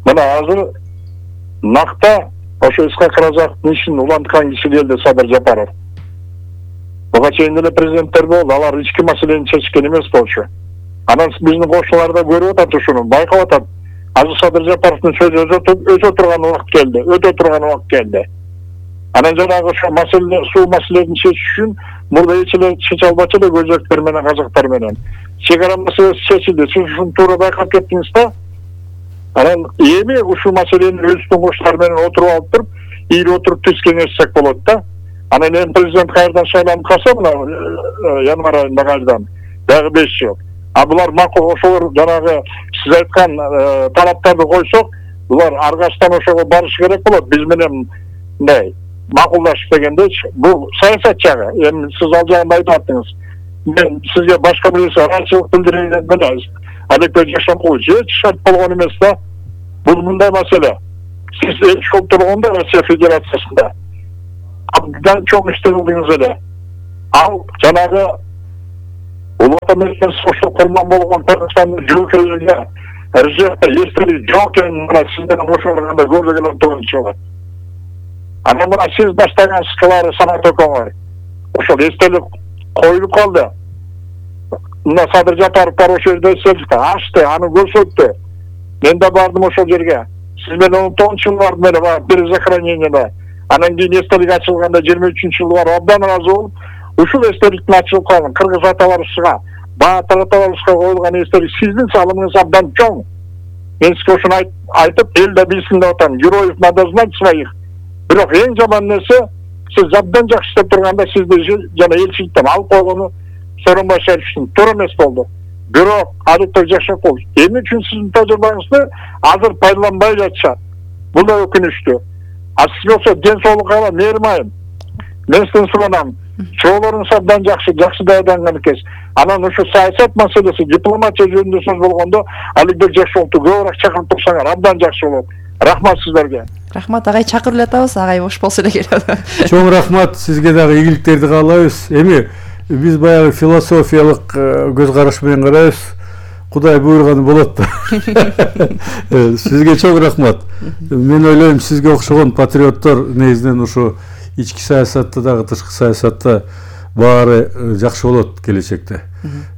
мына азыр накта ошо Исхак Разаковдун ишин уланткан киши келди Садыр Жапаров. Буга чейин эле президенттер болду, алар ички маселени чечкен эмес болчу. Анан биздин кошуналар да көрүп атат ушуну, байкап атат. Азыр Садыр Жапаровдун сөзү өтө турган убакыт келди, өтө турган убакыт келди. Анан жанагы ошо маселе, суу маселесин чечиш үчүн мурда эч эле чече албачу эле өзбектер менен, казактар менен. Чегара маселеси чечилди, сиз ушуну туура байкап кеттиңиз да. Анан эми ушул маселени өзүбүздүн коштар менен отуруп алып туруп, ийри отуруп түз кеңешсек болот да. Анан эми президент кайрадан шайланып калса, мына январь айында кайрадан дагы 5 жыл. А булар макул, ошолор жанагы сиз айткан талаптарды койсок, булар аргачтан ошого барышы керек болот. Биз менен мындай макулдашып дегендечи, бул саясат жагы. Эми сиз ал жагында айтып аттыңыз. Мен сизге башка бирөөсү ыраазычылык билдирейин деп эле Алипбек Жакшенкулович эч шарт болгон эмес да. Бул мындай маселе. Сиз элчи болуп турганда Россия Федерациясында абдан чоң иштер кылдыңыз эле. Ал жанагы Улуу Ата менен согушту курман болгон Кыргызстандын жоокейлерге Режепте эстелик жок экенин мына сиз менен кошулганда көргөн турган чыгат. Анан мына сиз баштаган скалары Санат Окоңой ошол эстелик коюлуп калды. Мына Садыр Жапаров бар ошол жерде эстеликти ачты, аны көрсөттү. Мен да бардым ошол жерге. Сиз менен 19-жылы бардым эле бар бир захоронениеде. Анан кийин эстелик ачылганда 23-жылы бар абдан ыраазы болуп, ушул эстеликтин ачылып калган кыргыз аталарыбызга, баатыр аталарыбызга коюлган эстелик сиздин салымыңыз абдан чоң. Мен сизге ошону айтып, эл да билсин деп атам. Героев надо знать своих. Бирок эң жаман нерсе, сиз абдан жакшы иштеп турганда сизди жана элчиликтен алып койгону Сооронбай Шариповичтин туура эмес болду. Бирок Аликтер Жакшакович эмне үчүн сиздин тажрыйбаңызды азыр пайдаланбай жатышат? Бул да өкүнүчтүү. А сиз болсо ден соолукка ала мээрмайым. Мен сизден суранам. Чоолоруңуз абдан жакшы даярданган экенсиз. Анан ушу саясат маселеси, дипломатия жөнүндө сөз болгондо Аликтер Жакшаковду көбүрөөк чакырып турсаңар абдан жакшы болот. Рахмат сиздерге. Рахмат, агай чакырып эле атабыз, агай бош болсо эле келет. Чоң рахмат, сизге дагы ийгиликтерди каалайбыз. Эми биз баягы философиялык көз караш менен карайбыз. Кудай буйруганы болот да. Сизге чоң рахмат. Мен ойлойм, сизге окшогон патриоттор негизинен ушу ички саясатта дагы тышкы саясатта баары жакшы болот келечекте.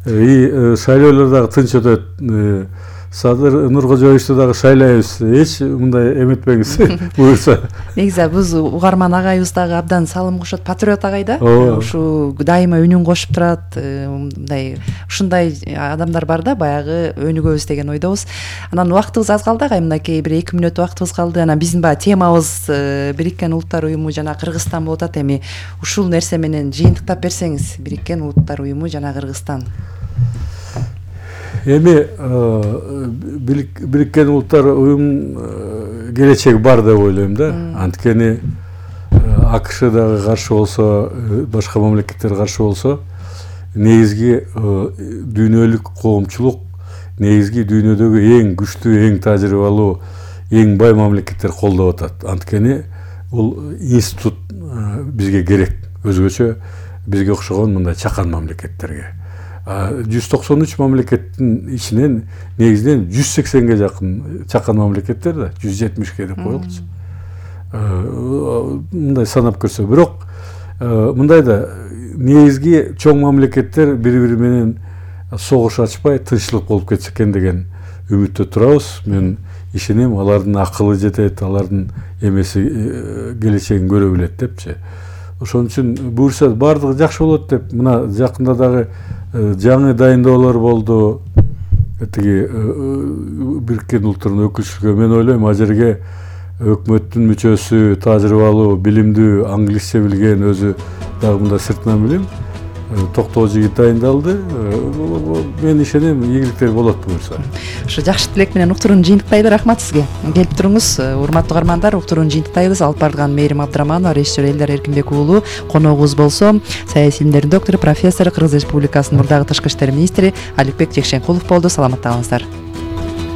Шайлоолор дагы тынч өтөт. Садыр Нуркожоевичти дагы шайлайбыз. Эч мындай эметпеңиз буюрса. Негизи биз угарман агайыбыз дагы абдан салым кошот, патриот агай да. Ушу дайыма үнүн кошуп турат. Мындай ушундай адамдар бар да, баягы өнүгөбүз деген ойдобуз. Анан убактыбыз аз калды, агай мынакей бир 2 мүнөт убактыбыз калды. Анан биздин баягы темабыз Бириккен Улуттар уюму жана Кыргызстан болуп атат. Эми ушул нерсе менен жыйынтыктап берсеңиз, Бириккен Улуттар уюму жана Кыргызстан. Эми Бириккен Улуттар уюм келечеги бар деп ойлойм да. Анткени АКШ дагы каршы болсо, башка мамлекеттер каршы болсо, негизги дүйнөлүк коомчулук, негизги дүйнөдөгү эң күчтүү, эң тажрыйбалуу, эң бай мамлекеттер колдоп атат. Анткени бул институт бизге керек. Өзгөчө бизге окшогон мындай чакан мамлекеттерге. 193 мамлекеттин ичинен негизинен 180ге жакын чакан мамлекеттер да, 170ге деп коелучу. Мындай санап көрсө, бирок мындай да негизги чоң мамлекеттер бири-бири менен согуш ачпай тынччылык болуп кетсе экен деген үмүттө турабыз. Мен ишенем, алардын акылы жетет, алардын эмеси келечегин көрө билет депчи. Ошон үчүн буюрса бардыгы жакшы болот деп, мына жакында дагы жаңы дайындоолор болду. Тиги Бириккен Улуттардын өкүлчүлүгү, мен ойлойм, ал жерге өкмөттүн мүчөсү, тажрыйбалуу, билимдүү, англисче билген, өзү дагы мында сыртынан билем, токтоо жигит дайындалды. Мен ишенем, ийгиликтер болот буюрса. Ушу жакшы тилек менен уктурууну жыйынтыктайлы. Рахмат сизге. Келип туруңуз, урматтуу угармандар, уктурууну жыйынтыктайбыз. Алып барган Мээрим Абдраманова, режиссер Элдар Эркинбек уулу, коногубуз болсо саясий илимдердин доктору, профессор, Кыргыз Республикасынын мурдагы тышкы иштер министри Аликбек Жекшенкулов болду. Саламатта калыңыздар.